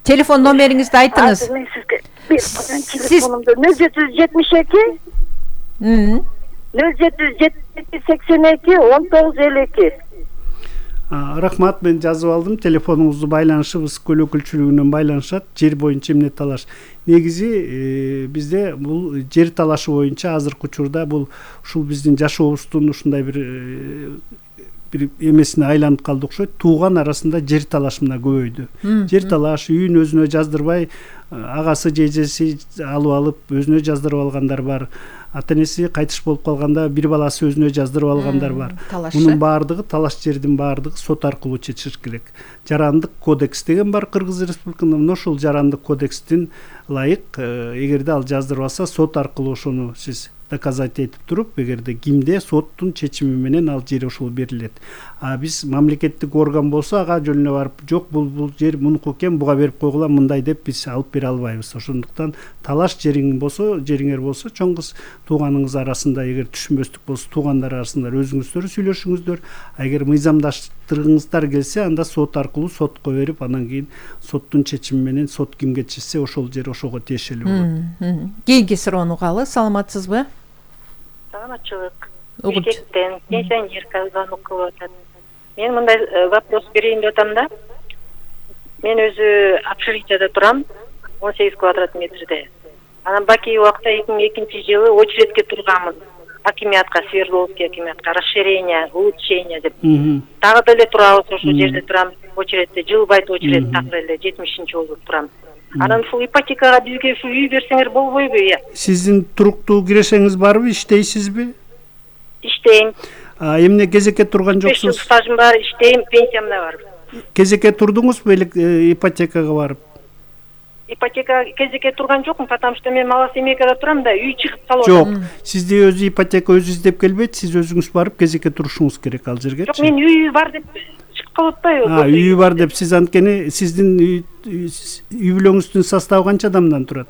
Телефон номериңизди айтыңыз. Телефонумду 0772 0772 1952. Рахмат, мен жазып алдым. Телефонуңузду байланышыбыз көл өкүлчүлүгүнөн байланышат. Жер боюнча эмне талаш. Негизи бизде бул жер талашы боюнча азыркы учурда бул ушул биздин жашообуздун ушундай бир эмесине айланып калды окшойт. Тууган арасында жер талашы мына көбөйдү. Жер талаш үйүн өзүнө жаздырбай, агасы же эжеси алып өзүнө жаздырып алгандар бар. Ата-энеси кайтыш болуп калганда бир баласы өзүнө жаздырып алгандар бар. Мунун баардыгы талаш жердин баардыгы сот аркылуу чечилиш керек. Жарандык кодекс деген бар Кыргыз Республикасында. Ошол жарандык кодекстин ылайык, эгерде ал жаздырып алса, сот аркылуу ошону сиз доказать этип туруп, эгерде кимде соттун чечими менен ал жер ошол берилет. Биз мамлекеттик орган болсо ага жөнүнө барып, жок бул жер мунуку экен, буга берип койгула мындай деп биз алып бере албайбыз. Ошондуктан талаш жериңер болсо, чоң кыз тууганыңыз арасында эгер түшүнбөстүк болсо, туугандар арасында өзүңүздөр сүйлөшүңүздөр. Эгер мыйзамдаштыргыңыздар келсе, анда сот аркылуу сотко берип, анан кийин соттун чечими менен сот кимге чечсе, ошол жер ошого тиешелүү болот. Кийинки суроону угалы, саламатсызбы? Саламатчылык. Бишкектен пенсионер звонок кылып атат. Мен мындай вопрос берейин деп атам да. Мен өзү общежитияда турам, 18 квадрат метрде. Анан баки убакта 2002 жылы очередке турганмын. Акимиатка, Свердловский акимиатка, расширение, улучшение деп. Дагы деле турабыз, ошол жерде турам, очередте, жылбайт очеред такыр эле 70-чи болуп турам. Анан ушул ипотекага бизге ушу үй берсеңер болбойбу? Сиздин туруктуу кирешеңиз барбы, иштейсизби? Иштейм. Эмне кезекке турган жоксуз? 5 жыл стажым бар, иштейм, пенсиям да бар. Кезекке турдуңузбу ипотекага барып? Ипотека кезекке турган жокмун, потому что мен мала семейкада турам да, үй чыгып калып атат. Жок, сизди өзү ипотека өзү издеп келбейт, сиз өзүңүз барып кезекке турушуңуз керек ал жерге. Жок, мен үй бар деп чыгып калып атпайбы? Үйү бар деп сиз анткени сиздин үй бүлөңүздүн составы канча адамдан турат?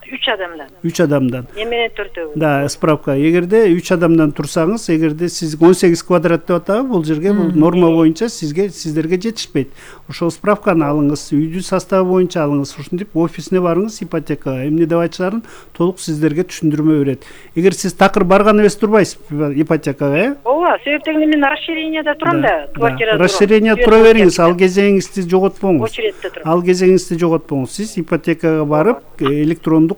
3 адамдан. 3 адамдан. Мен менен 4-өө. Да, справка. Эгерде 3 адамдан турсаңыз, эгерде сиз 18 квадрат деп атабы, бул жерге бул норма боюнча сиздерге жетишпейт. Ошол справканы алыңыз, үйдүн составы боюнча алыңыз, ушинтип офисине барыңыз, ипотека эмне деп айтышарын толук сиздерге түшүндүрмө берет. Эгер сиз такыр барган эмес турбайсыз ипотекага, Ооба, себептен мен расширениеда турам да, квартирада. Расширение тура бериңиз, ал кезеңиңизди жоготпоңуз. Очередте турам. Ал кезеңиңизди жоготпоңуз. Сиз ипотекага барып, электрондук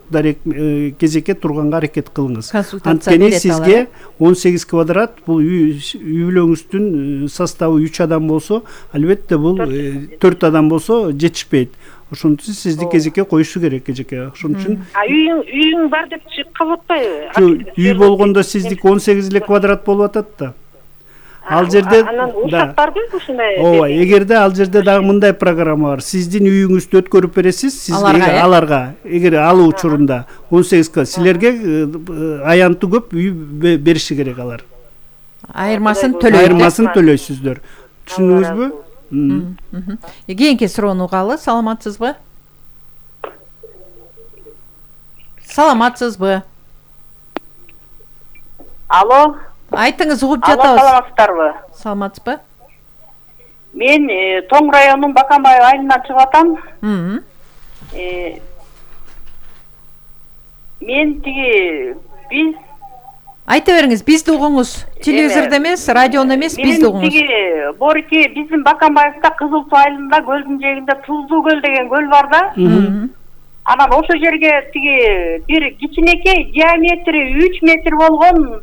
кезекке турганга аракет кылыңыз. Анткени сизге 18 квадрат бул үй бүлөңүздүн составы 3 адам болсо, албетте бул 4 адам болсо жетишпейт. Ошон үчүн сизди кезекке коюшу керек кезекке. Ошон үчүн үйүң бар деп чыгып калып атпайбы? Үй болгондо сиздики 18 эле квадрат болуп атат да. Ал жерде анан уруксат барбы ушундай? Ооба, эгерде ал жерде дагы мындай программа бар. Сиздин үйүңүздү өткөрүп бересиз, сиз аларга эгер алуу учурунда 18 силерге аянтты көп үй бериши керек алар. Айырмасын төлөйт. Айырмасын төлөйсүздөр. Түшүндүңүзбү? Кийинки суроону угалы, саламатсызбы? саламатсызбы? Алло. Айтыңыз, угуп Алло, жатабыз. саламатсыздарбы? Саламатсызбы? Мен Тоң районунун Баканбай айылынан чыгып атам. Мен биз айта бериңиз, бизди угуңуз. Телевизордо эмес, радионо эмес, бизди угуңуз. Мен борки биздин Баканбаевда Кызыл Суу айылында көлдүн жээгинде Туздуу көл деген көл бар да. Анан ошол жерге бир кичинекей диаметри 3 метр болгон